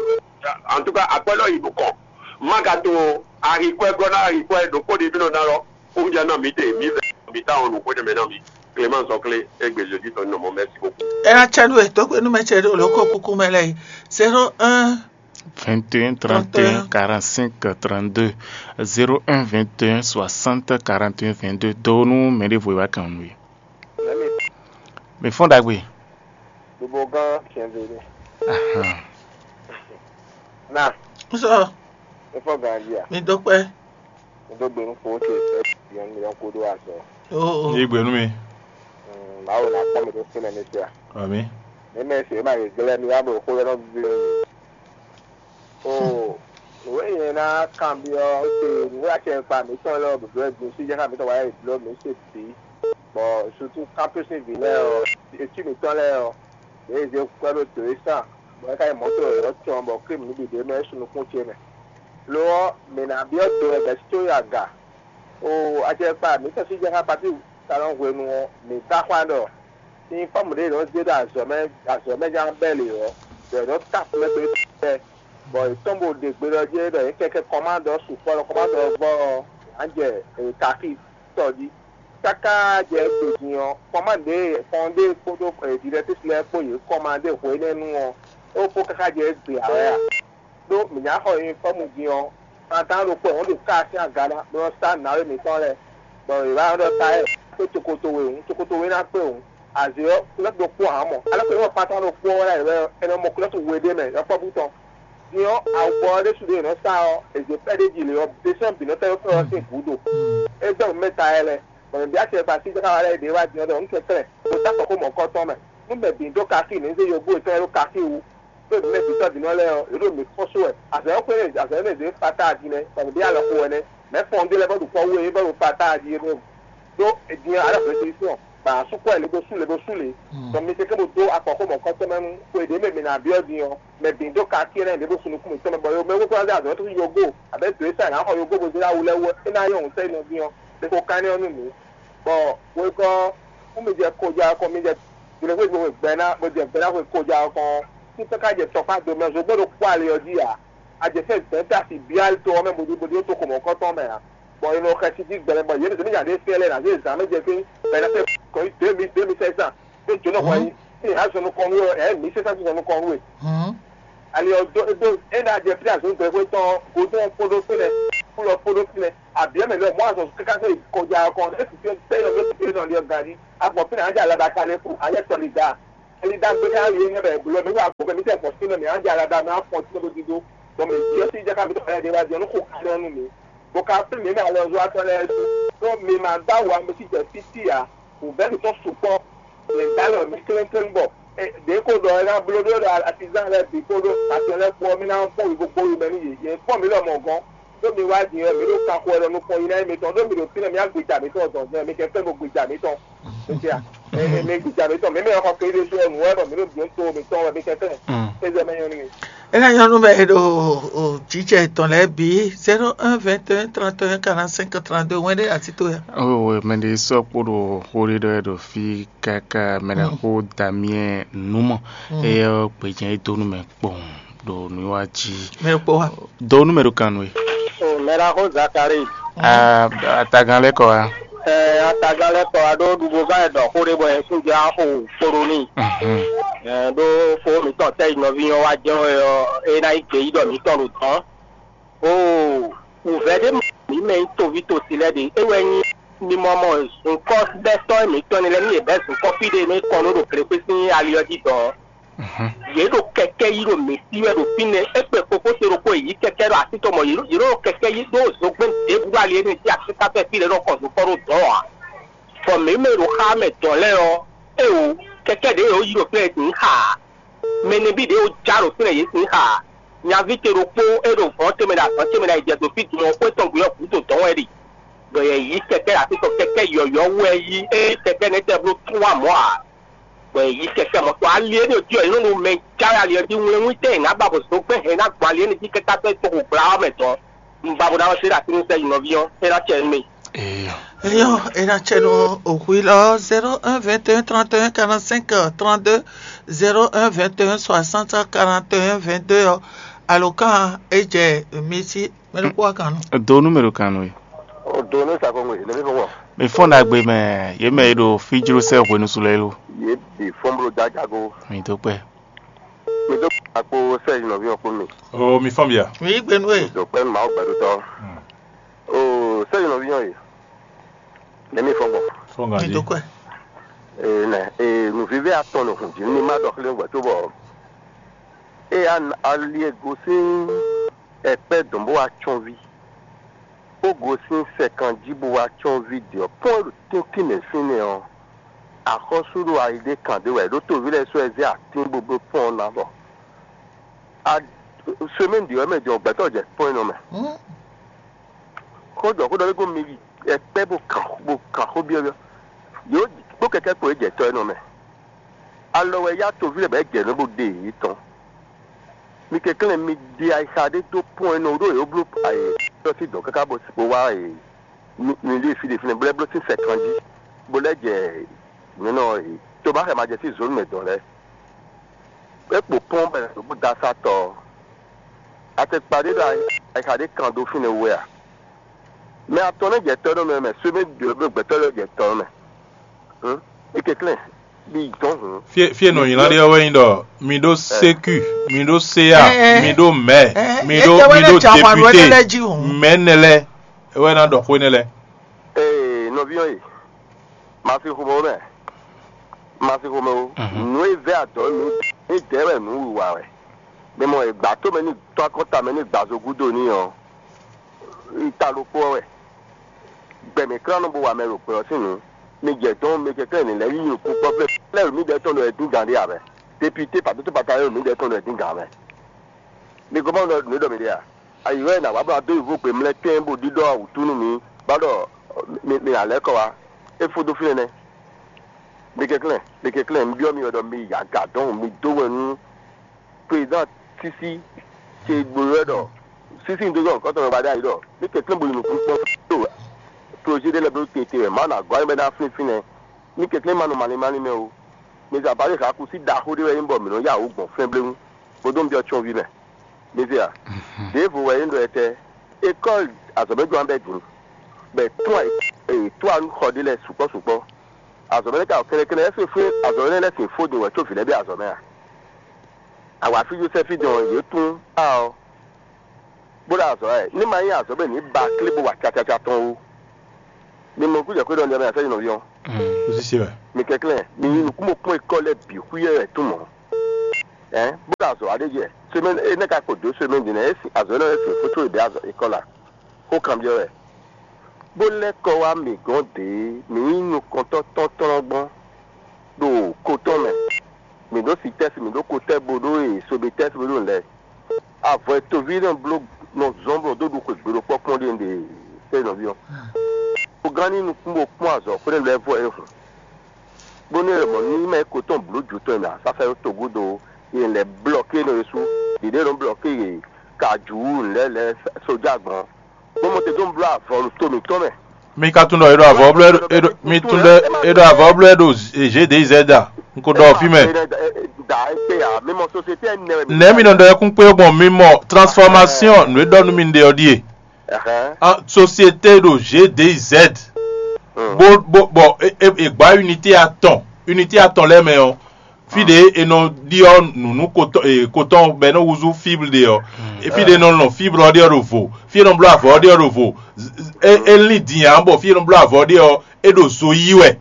Antúka akwɛ́ lɔ yi nukɔn. Má ka to ahikwɛ́ gɔ́ ná ahikwɛ́ ɖokpó ɖé mí nɔ ná lɔ, kó ja ná mǐ te, mǐ vɛ mǐ ta wɔn nǔ xwé ɖé mɛ ná mǐ. Clément Sɔklé, égbé Jésus tɔn nɔ mɔ, merci beaucoup. Ela cɛ nú e dó gbe nú mɛ ce ɖo lǒ kó kúkú mɛ lɛ́ɛ yi. Zéro un. Vingt et un, trente et un, quarante-cinq, trente-deux. Zéro un, vingt et un, soixante, quarante et un, vingt-deux. Dó nú mɛ ɖěvo e wá kan nú we. Mɛ mi. Mi fɔ́n ɖagbe. Ɖobo gán siɛnzé ɖé. Ahan. Na. Sɔ. Mi fɔ́n gán jí a? Mi dó kpɛ́. Mi dó gbe nú fowó ce ɛ yɔn mi yɔn kó ɖó azɔ. Oo. Yí gbe nú mi. Mawu ná kpɔ́n mi ɖó fínɛ́ mi fia. Ami. Mi mɛ se ma yě glɛ́ mi wá bɔ xó lɔ nɔ vi. Oo, nǔ e nyɛ ná kanbyɔ́ te nǔ e acɛkpa mǐtɔn lɛ́ɛ ɔ́ bǐblɔ́ din síjɛ́xá mǐtɔn wá yi bló mǐ se bǐ, bɔ sutu kámpésin vǐ lɛ́ɛ ɔ́, etí mǐtɔn lɛ́ɛ ɔ́, yě zé kwɛ́ ɖó dǒ e sán, bɔ é ka nyí mɔ̌to yɔ̌yɔ́ tɔn bɔ Klímu nǔ bǐ ɖ'é mɛ é su nukún ce mɛ. Lo ɔ́, mǐ ná byɔ́ do wɛ bɛ̌ tó yi aga. Oo, acɛkpa mǐtɔn síjɛ́xá Patíi ka nɔ hwenu ɔ́, mǐ ka xwá ɖɔ Sin fɔ́mù ɖé nɔ zé ɖo azɔ̌ mɛ azɔ̌ mɛ ján bɛ́ lě ɔ́, bɔ è nɔ ta xomɛ kpé tɛ, bɔ è tɔ́n bó ɖe gbe ɖɔ jɛ́n ɖɔ yě kɛkɛ kɔmándɔ sukpɔ́ ɖɔ kɔmándɔ ɔ́ vɔ ɔ́, yě ná jɛ kakí tɔ jí. Káká jɛ gbe din ɔ́, kɔmándě kɔndé kpódó dǐɖɛtísi lɛ́ɛ kpó yě kɔmándé hwenɛ́nu ɔ́, é kpó káká jɛ gbe ǎ wɛ a? Ɖó mǐ ná xɔ yunifɔ́mu din ɔ́, kpantán ɖokpó ɔ́, wǒ ɖo ká sín aga ná bó nɔ́ sá nǎwe mǐtɔn lɛ́ɛ, bɔ yě wá ɖɔ ta ɛ kpé tokoto we hǔn, tokoto we ná kpé hǔn, azě ɔ́, kúlɛ́ ɖokpó ǎ mɔ. Alɔ kpé wɔ kpantán ɖokpó ɔ́ wɛ ná yě wɛ, é nɔ mɔ kúlɛ́ to we ɖé mɛ yɔkpɔ́vú tɔn. Din ɔ́, awubɔ ɔ́ ɖésú ɖě è nɔ sa ɔ́, è zě pɛ́ ɖé jí lě ɔ́, běsɔ́ bǐ nɔ́ tɛ́ fɛ́ ɔ́ sín gǔdo. É gbɛ́ mɛ ta ɛ lɛ́ɛ, bɔ mǐ byɔ́ acɛ kpa sí jaka wá lɛ́ɛ ɖě wá din ɔ́ ɖɔ un kɛnklɛ́n, bó dó afɔ xó mɔ̌kɔ́tɔn mɛ. Nú mɛ bǐ ɖó kakí, mǐ zé yɔgbó yětɔn e ɖó kakí wú. Ɖó mǐ mɛ bǐ tɔ́ din ɔ́ lɛ́ɛ ɔ́, yě ɖo mǐ kpɔ́n sú wɛ. Azɔ̌ e xwé azɔ̌ énɛ́ zě kpata din nɛ́, bɔ mǐ byɔ́ alɔ xo wɛ nɛ́. Mɛ̌ fɔn ɖé lɛ́ɛ bɔ ɖo kpɔ́ wú é bɔ ɖo kpata din é ɖo. Ɖó è din ɔ́, alɔ hwesivɔ́sɔn, bɔ a sú kɔ ɛ lě dó sú lě bó sú lě. Bɔ mi tɛ́nkɛ́n bó dó afɔ xó mɔ̌kɔ́tɔn mɛ nú xwe ɖě mɛ mǐ ná byɔ́ din ɔ́, mɛ bǐ ɖó kakí énɛ́ ɖě bó sú nukún mǐtɔn mɛ, bɔ mɛ wú kplɔ́n zé azɔ̌ tɔn sín yɔgbó, abǐ dǒ e sa è nǎ xɔ yɔgbó bó zé ɖó awu lɛ́ɛ wú ɔ́, é ná nyɔ́ wǔ sɛ́ nɔ din ɔ́. Ɖe xo kanɛ́ ɔ́ nú mǐ. Bɔ hwekɔ́ ɔ́, nú mi jɛ koja ɔ́ kɔn, mi jɛ jlɛ̌xwé gbɛ ná, bó jɛ gbɛ ná hwe koja ɔ́ kɔn ɔ́, fítɛ́ ká jɛ tɔkpá do mɛ zogbɛ́ ɖokpó ali ɔ́ jí ǎ. A jɛ fɛ́n dɛ̌n ta si byɔ́ ali to ɔ́ mɛ bó ɖi bó ɖi ó to xomɔ̌kɔ́tɔn mɛ ǎ. Bɔ è nɔ xɛsi jí gbɛmɛ bɔ yě mɛ zě mɛ nya ɖé fɛ́n lɛ́ɛ ná zé zǎn mɛ jɛ fí, bɔ è nǎ fɛ kɔn nyi dě mi dě mi sɛ́ zán, bó jǒnɔ hwɛ nyi. Azɔn nukɔn nú ɛ, mi sɛ sasi zɔn nukɔn nú ɛ. Ali ɔ do do e na jɛ fi azɔn gbɛ xwe tɔn godɔn kpoɖo fɛnɛ, kulɔ kpoɖo fɛnɛ, abiɛ mɛ lɛ mɔ azɔn kaka sɛ kɔjá kɔn e fi fi tɛ yɔ fi fi nɔ liɔ gari agbɔ fi na anja alaba ka ne ku anya tɔli da. Ali da gbe ka ye ne bɛ blɔ mi wa gbɔ mi tɛ fɔ fi nɔ mi anja alaba mi afɔ ti nɔ dido. Bɔn mi diɔ si jaka mi tɔ ya de wa diɔ nu ko ka nɔ nu mi. Bɔ ka fi mi na lɔ zɔ atɔ lɛ su. Bɔ mi ma da wa mi si jɛ fi ti ya. Wǔvɛ́ mǐtɔn sukpɔ́, mǐ dó alɔ mǐ klɛ́nklɛ́n bɔ ɖě ko ɖɔ é ná bló ɖó ɖɔ atizán lɛ́ɛ bǐ kpódó atɔn lɛ́ɛ kpó ɔ́, mì ná kpɔ́n wǐ gbogbo yi mɛ nú yě. Yě kpɔ́n mǐ lɔmɔ̌ gɔ́n, ɖó mi wá din ɔ́, mǐ ɖo kanxo wɛ ɖɔ nukɔn yi ná nyí mitɔn, ɖó mi ɖo fínɛ́, mǐ wá gbija mǐtɔn zɔnzɔn, mi kɛnklɛ́n ɖo gbija mǐtɔn. Mǐ gbija mǐtɔn, mǐ mɛ xɔ kpé ɖésú ɔ́, nǔ wɛ bɔ mǐ ɖo bǐ to mǐtɔn wɛ, mi kɛnklɛ́n. Ézɛ mɛ nyɔ́ nú mi. É ná nyɔ́ nú mɛ e ɖo o, jǐjɛ tɔn lɛ́ɛ bǐ, zéro un vingt et un trente et un quarante-cinq trente-deux wɛn ɖé atito ya. Owe mɛ ɖé sɔ́ kpo ɖo xó ɖé ɖɔ wɛ ɖo fí káká mɛ ɖo xó Damiyɛn Numɔ. Eyɛ ɔ́ gbejɛ e dó nú mɛ kpɔn ɖo nǔwiwa jí. Mɛ ɖo kpɔ wa. Dó nú mɛ ɖo kan nú e. O mɛ ɖo xó Zakari. Ah, atagán lɛ́ kɔ wá. Ɛ atagán lɛ́ kɔ wá ɖó ɖuɖu gán e ɖɔ xó ɖé bɔ yɛn sín jɛ axo kpo ɖo n'i. Ɛ ɖó xó mǐtɔn tɛ yi nɔví nyɔ́ wá jɛ́n wɛ ɔ́, é ná nyí gbeyíɖɔ mǐtɔn ɖo dɔ̌n. Oo, wǔvɛ́ ɖé mǐ mɛ nyí toví tosi lɛ́ɛ ɖe, é wɛ nyí mimɔ mɔ zunkɔ́ bɛ́ sɔ́ mǐtɔn ní lɛ́ɛ ní yě bɛ́ zunkɔ́ fí ɖé nú é kɔn nú ɖo Glekpé sín ali ɔ́ jí dɔ̌n. Yě ɖo kɛkɛ́ yí ɖo mǐ sí wɛ ɖo fínɛ́, é kpe kpokpó se ɖokpó yě yí kɛkɛ́ ɖo así tɔn mɔ yě ɖo kɛkɛ́ yí ɖó zogbɛ́n ɖěbǔ ɖo ali énɛ́ jí akíká fɛ́ fí lɛ́ɛ nɔ kɔn zunkɔ́ ɖó dɔ̌n ǎ. Bɔ mǐ mɛ e ɖo xá mɛ dɔ̌n lɛ́ɛ ɔ́, éeǒ, kɛkɛ́ ɖě e yě yi ɖo fínɛ́ yě sin xaa ǎ. Mɛ nɛbí ɖě e já ɖo fínɛ́ yě sin xaa ǎ. Nyaví ce ɖokpó e ɖo vɔ̌ ce mɛ ɖo azɔ̌ ce mɛ ɖo ayǐjɛdo fí din ɔ́, xwé tɔn gbe ɔ́ gǔdo dɔ̌n wɛ ɖe. Bɔ yɛ yí kɛkɛ́ ɖo así tɔn kɛkɛ́ yɔ̌yɔ́ wú wɛ yí, ée kɛkɛ́ nɛ́ tɛ́ bló tún wá mɔ̌ ǎ. Bɔ yɛ yí kɛkɛ́ mɔ̌ tɔn ali énɛ́ jí ɔ́, yě nɔ ɖo mɛ jáwé ali ɔ́ jí wlɛ́nwún tɛ́ yě ná ba bɔ zǒgbɛ́n hɛn ná gbɔn ali énɛ́ jí kɛ́ká tɔ́ tɔn xo gbla ɔ́ mɛ dɔ̌n. Un ba bó ná wɛ sé ɖo así nú sɛ́ yi nɔví ɔ́, é ná cɛ nú mì. Eyɔ. Eyɔ, e ná cɛ nú òxwí lɔ zéro un vingt et un trente et un quarante-cinq trente-deux, zéro un vingt et un soixante quarante et un vingt-deux ɔ́, alǒkan e jɛ mi sí mɛ ɖokpó wa kan nɔ. Do nú mɛ ɖo kan nú e. O do nú sakɔngo yìí, lèmi fún wọn. Mi fɔ́n ɖagbe mɛ, yě mɛ e ɖo fí jló sɛ́ hwenu su lɛ́ɛ lo. Yě bǐ fɔ́n bló jájágo. Mi dó kpɛ. Mi dó kpɛ kpó sɛ́ yi nɔví ɔ́ kpó mi. O mi fɔ́n bia. Mi yí gbe nú e. Mi dó kpɛ nú Mawu gbɛɖutɔ́. O sɛ́ yi nɔví ɔ́ yìí. Nɛ̌ mi fɔ́n gbɔn? Fɔ́n ganjí. Ee nɛ ee nǔvívɛ́ atɔn ɖo hǔn jí ní má ɖɔ xlé gbɛ cóbɔ ée ali e gosín ɛkpɛ́ dɔn bó wá cɔ́nví, bó gosín sɛkan jí bó wá cɔ́nví ɖě ɔ́, pɔ́n e ɖo tɛ́ntin mɛ fínɛ́ ɔ́, axɔ́sú ɖo ayi ɖé kan ɖé wɛ, ɖó toví lɛ́ɛ sɔ́ ɛ zé atín bó bló pɔ́n ɔ́ ná bɔ semɛ́ni ɖě ɔ́ mɛ jɔ gbɛtɔ́ jɛ pɔ́n énɛ́ ɔ́ mɛ. Xó jɔ xó ɖɔ lé gɔ́n mi yi ɛkpɛ́ bó kan bó kan xó byɔ́byɔ́. Yǒ kpó kɛkɛ́ kpo é jɛ tɔ énɛ́ ɔ́ mɛ. Alɔ wɛ yá toví lɛ́ɛ bɔ é jɛ nǔ bó ɖe yě tɔn. Mi kɛnklɛ́n mi ɖe ayixa ɖé dó pɔ́n énɛ́ ɔ́ ɖó yě ó bló ayǐ tɔ́ sí dɔ̌n káká bó wá mi ɖe fí ɖe fínɛ́ bó lɛ́ bló sín sɛkan jí bó lɛ́ jɛ nǔ énɛ́ ɔ́ yě. Cóbá xɛ ma jɛ sí zǒnu mɛ dɔn lɛ́ɛ. É kpo pɔ́n bɔ è nǎ dó bó dó asá tɔ ɔ́. Atɛkpa ɖé ɖo ayixa ɖé kan dó fínɛ́ wú wɛ a? Mɛ atɔn nɛ́ jɛ tɔ́ nɔ mɛ mɛ sóbé ɖě gbɛtɔ́ lɛ́ɛ jɛ tɔ nɔ mɛ. Hǔn, é kɛnklɛ́n, bí dɔn hǔn. Fie fie nɔ nyi lan ɖe ɔ́ wɛ nyí ɖɔ mi ɖó sécu, mi ɖó séa, mi ɖó mɛ, mi ɖó mi ɖó député, mɛ nɛ lɛ é wɛ ná ɖɔ xó énɛ́ lɛ. Ee, nɔví ɔ́ e, ma fi xomɛ ó mɛ, ma fi xomɛ ó. Nǔ e vɛ́ adɔ̌ nǔ é dɛ̌ wɛ nǔ wiwa wɛ. Mi mɔ e gbǎ tó mɛ ní tɔ́ akɔ́nta mɛ ní gbǎ zo gúdo n'i ɔ́, ta ɖokpó ɔ́ wɛ. Gbɛ mǐ klán nɔ bó wa mɛ ɖo gbɛ ɔ́ sín nǔ. Mi jɛ dɔn mi kɛkɛ ní lɛ́ yí nukún kpɔ́ flɛ́ flɛ́ mǐdɛɛ tɔn ɖo wɛ dín gǎn ɖé ǎ mɛ. Député pǎdótó pata e mǐdɛɛ tɔn ɖo wɛ dín gǎn mɛ. Mi gɔ́ mɔ nǔ e ɖɔ mi ɖe a? Ayi wɛ nǎ wá bó ná dó yi vo gbe mlɛ́ tɛ́n bó ɖiɖɔ wǔtu nú mi, bá ɖɔ mi mi ná lɛ́ kɔ wá. É fó dó fínɛ́ nɛ́. Mi kɛnklɛ́n, mi kɛnklɛ́n, un byɔ́ mi wɛ ɖɔ mi yi aga dɔn mi dó wɛ nú président Sisi ce gbló wɛ ɖɔ Sisi un dó zɔn kɔ́tɔn mɛ ba ɖ'ayǐ ɖɔ mi kɛnklɛ́n bo yi nukún kpɔ́n ɖo projet ɖé lɛ́ɛ bló tete wɛ Mawu ná gɔ́ ayé mɛ ná flínfín nɛ́. Mi kɛnklɛ́n ma nɔ malín malín mɛ ó. Mi zɛ abǎ ɖé xaku sí ɖaxó ɖé wɛ nyí bɔ mǐ nɔ yá wǔ gbɔn flɛ́nblɛ́wú, bó dó un byɔ́ tsyɔ́nví mɛ. Mi zɛ a? Ɖěvo wɛ é ɖɔ etɛ, ékɔ́li azɔ̌mɛjɔ́ ɔ́ bɛ́ din, bɔ è tún ayǐ è tún anú xɔ ɖé lɛ́ɛ sukpɔ́ sukpɔ́. Azɔ̌mɛ lɛ́ɛ ka ɖo kɛnɖɛkɛnɖɛ, ɛ́ sin fó azɔ̌ énɛ́ lɛ́ɛ sin fó din wɛ có vǐ lɛ́ɛ ɖe azɔ̌ mɛ a? Awǎfíjó sɛ́fí din ɔ́, yě tún a ɔ́, bó ɖo azɔ̌ wɛ, ní ma nyí azɔ̌ bɔ è nǐ ba klé bó wa cacaca tɔn ó. Mi mɔ kújɛ xwé ɖɔ nɖɛ mɛ a sɛ́ nyi nɔví ɔ́. Kúsísí wɛ. Mi kɛnklɛ́n, mi yí nukúnmɔkpɔ́n e kɔ́ lɛ́ɛ bǐ xwíyɛ́ wɛ tún mɔ̌. Ɛ̌n, bó ɖo azɔ̌ wa ɖé jɛ, semɛ́ni énɛ́ ka kpo dǒ semɛ́ni din nɛ́, é sin azɔ̌ énɛ́ lɛ́ɛ sin fó có è bǐ azɔ̌ é kɔ́ la. Xó kanbyɔ́ wɛ, bó lɛ́ kɔ wá mǐ gɔ́n dě, mǐ nyí nukɔntɔ́ tɔ́ntɔ́n gbɔn ɖo ko tɔn mɛ. Mǐ ɖó Sitɛ́si, mǐ ɖó Kotɛ́, bó ɖó e Sobetɛ́si, bó ɖó nǔ lɛ́ɛ. Avɔ e toví nɔ bló nɔ zɔ́n bɔ dó ɖu xwegbe ɖokpɔ́ kpɔ́n ɖíe un ɖe sɛ́ nɔví ɔ́. Bó gán ní nukún bó kpɔ́n azɔ̌ xwé nɛ́ lɛ́ɛ vɔ é hǔn. Bónú è mɔ nú mɛ ko tɔn blǒ jǔ tɔn e mɛ asásá e togudo e lɛ blɔke nɔ Yesu ɖiɖe nɔ blɔke ye ka jǔ nǔ lɛ́ɛ lɛ́ɛ sójá gbɔn, bó mɔ te dó bló avɔ ɖo to mǐtɔn mɛ. Mi ka tunwun ɖɔ è ɖo avɔ bló è ɖo mi tunwun ɖɔ è ɖo avɔ bló è ɖo G D Z a? Un ko ɖɔ fí mɛ. Da ete a mi mɔ société nɛ. Nɛ̌ mi nɔ ɖɔ yɛkún kpé gbɔn mi mɔ transformation nǔ e ɖɔ nú mi ɖe ɔ́ ɖíe. Ɛhɛn. Ah, société ɖo G D Z. Bó bó bɔ è gbá unité atɔn, unité atɔn lɛ́ɛ mɛ ɔ́, fí ɖě è nɔ ɖyɔ́ nǔ nú kotɔ́ bɔ é nɔ húzú fibre ɖe ɔ́, fí ɖě è nɔ lɔn fibre ɔ́ ɖe ɔ́ ɖo vo, fí è nɔ bló avɔ ɔ́ ɖe ɔ́ ɖo vo. É lín din ǎ bɔ fí è nɔ bló avɔ ɔ́ ɖe ɔ́, é ɖo zo yí wɛ.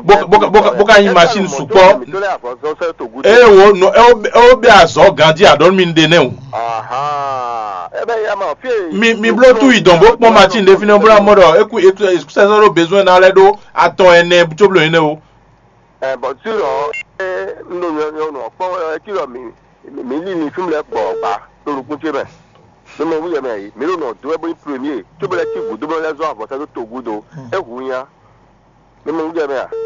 Bó ka nyí machine sukpɔ́. Ée wo nɔ é wo bɛ azɔ̌ ganjí aɖɔ̌ mi ɖe nɛ́ o. Mi mi bló tú yi dɔn bó kpɔ́n machine ɖé fínɛ́ bó ná mɔ ɖɔ é kú é kú sɛsɛ ɖó besoin ná lɛ́ ɖó atɔn ɛnɛ cóblo énɛ́ o. Bɔn tí ɔ un ɖo nyɔnyɔ nɔ kpɔ́n ɛ tí ɔ mi mi lí mi fí mi lɛ́ gbɔ gba ɖo nukún ce mɛ. Mi mɔ wúyɛ mɛ yi mi ɖo nɔ dó wɛ bó nyí premier cóblo lɛ́ cí gǔdo bó lɛ́ zɔ́n avɔsá dó togudo é hu nya.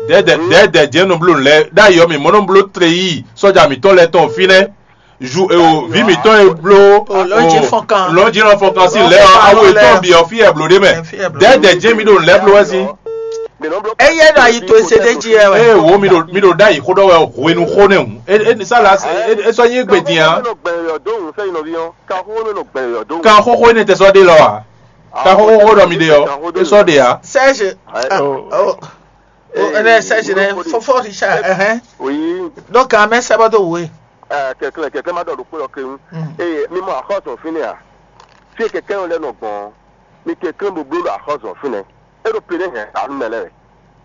Dɛ̌dɛ̌ dɛ̌dɛ̌ jɛ́n nɔ bló nǔ lɛ́ɛ ɖ'ayǐ ɔ́, mǐ mɔ nɔ bló tleyíi sɔ́ja mǐtɔn lɛ́ɛ tɔn fínɛ́. Ju e o vǐ mǐtɔn e bló lɔ̌njínɔ fɔnkan sín lɛ́ɛ ɔ́, awu yětɔn bǐ ɔ́ fí wɛ blǒ ɖé mɛ. Dɛ̌dɛ̌ jɛ́n mǐ ɖo nǔ lɛ́ɛ bló wɛ sín. Éyɛ́ ɖo ayi towe se ɖ'é jí wɛ. Ée wo mǐ ɖo mǐ ɖo ɖ'ayǐ xó ɖɔ wɛ hwenu xó nɛ́ hǔn. É sɔ́ nyí égbé din ǎ. Kan xóxó énɛ́ tɛ sɔ́ ɖe lɔ a? Kan xóxó ɖɔ mi ɖe ɔ́, é sɔ́ ɖe ǎ. Sɛ́zi. Ɛnɛ sɛ́zi nɛ fɔfɔ Richard ɛhɛn. Ɖó kan mɛ sɛbɔ dó wǔ e. Kɛklɛ kɛklɛ ma ɖɔ ɖokpó lɔ kewun. Eye mi mɔ axɔ́sɔ fínɛ́ a? Fí e kɛkɛ́ lɛ́ɛ nɔ gbɔn ɔ́, mi kɛklɛ́n bó bló ɖo axɔ́sɔ fínɛ́. É ɖo pe ɖé hɛn anu mɛ lɛ́ɛ.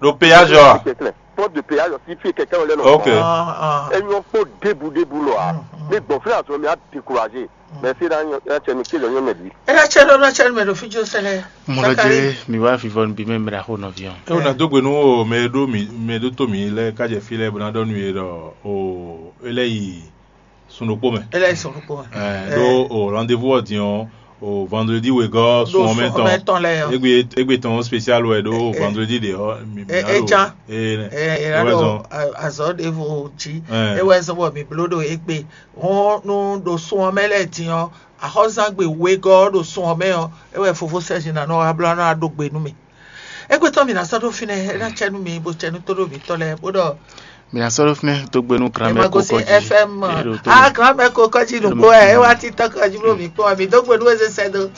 Ɖo péage ɔ́ a? Kɛklɛ pɔ́n de péage ɔ́ sí fí e kɛkɛ́ lɛ́ɛ nɔ gbɔn. Ok. Ɔ́, ɔ́. É nyɔ́ kpó ɖěbǔ ɖěbǔ lɔ a? Mi gbɔn fínɛ́ azɔn mi á découragé. Mɛ sí ná nyɔ ná cɛ mi kézɔ nyɔ mɛ bǐ. Ena cɛ ɖo ná cɛ mɛ ɖo fíjó sɛlɛ. Mɔlɔdze mi wá vivɔ nbí mɛ mɛ ɖaxó nɔviɔ. E wò ná dó gbe nú o mɛ e ɖó mi mɛ e ɖó tó mi lɛ́ɛ ká jɛ fí lɛ́ɛ bó ná ɖɔ nú yě ɖɔ o é lɛ́ yi sun ɖokpó mɛ. Ele yi sɔn ɖokpó mɛ. Ɛ ɖó o rendez-vous ɔ́ din ɔ́ o vendredi wegɔ́ sun ɔmɛ tɔn. Egbe egbe tɔn spécial wɛ ɖó vendredi ɖe ɔ́. Ejan. Ena ɖo azɔ ɖevo jí ewɛ zɔn bɔ mi bló ɖo egbe hɔn nú ɖo sun ɔmɛ lɛ din ɔ́. Axɔzangbe wegɔ́ ɖo sun ɔmɛ ɔ́, é wɛ fofó sɛ́zi ná nɔ wá bló ná ɖó gbe nú mi. Égbé tɔn mi ná sɔ́ ɖó fínɛ́, é ná cɛ nú mi bó cɛ nú tóɖó mǐtɔn lɛ́ɛ bó ɖɔ. Mi ná sɔ́ ɖó fínɛ́ dó gbe nú granmɛ kókɔ jí. F M a granmɛ kókɔ jí nǔgbó wɛ é wá títɔ́ kɔ jí bló mǐ kpɔ́n mi dó gbe nú ézé sɛ́ dó.